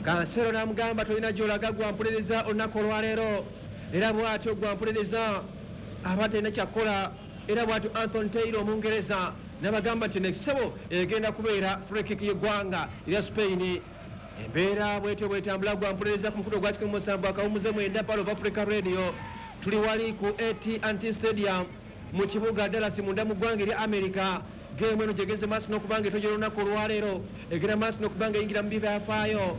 Cancelo namugamba tolina gy'olaga gwampuliriza olunaku olwaleero era bw'atyo gwampuliriza abadde alina kyakkola era bw'atyo Anthony Taylor Omungereza n'abagamba nti ssebo egenda kubeera free kick y'eggwanga erya Spain. Embeera bwetyo bwetambula gwampuliriza ku mukutu ogwa kikumi musanvu akawumuze mwenda Pearl of Africa Radio. Tuli wali ku A T and T Stadium mu kibuga Dallas munda mu ggwanga erya America. Geemu eno gyegeze maaso n'okubanga etojera olunaku olwaleero egenda maaso n'okubanga eyingira mu byafaayo.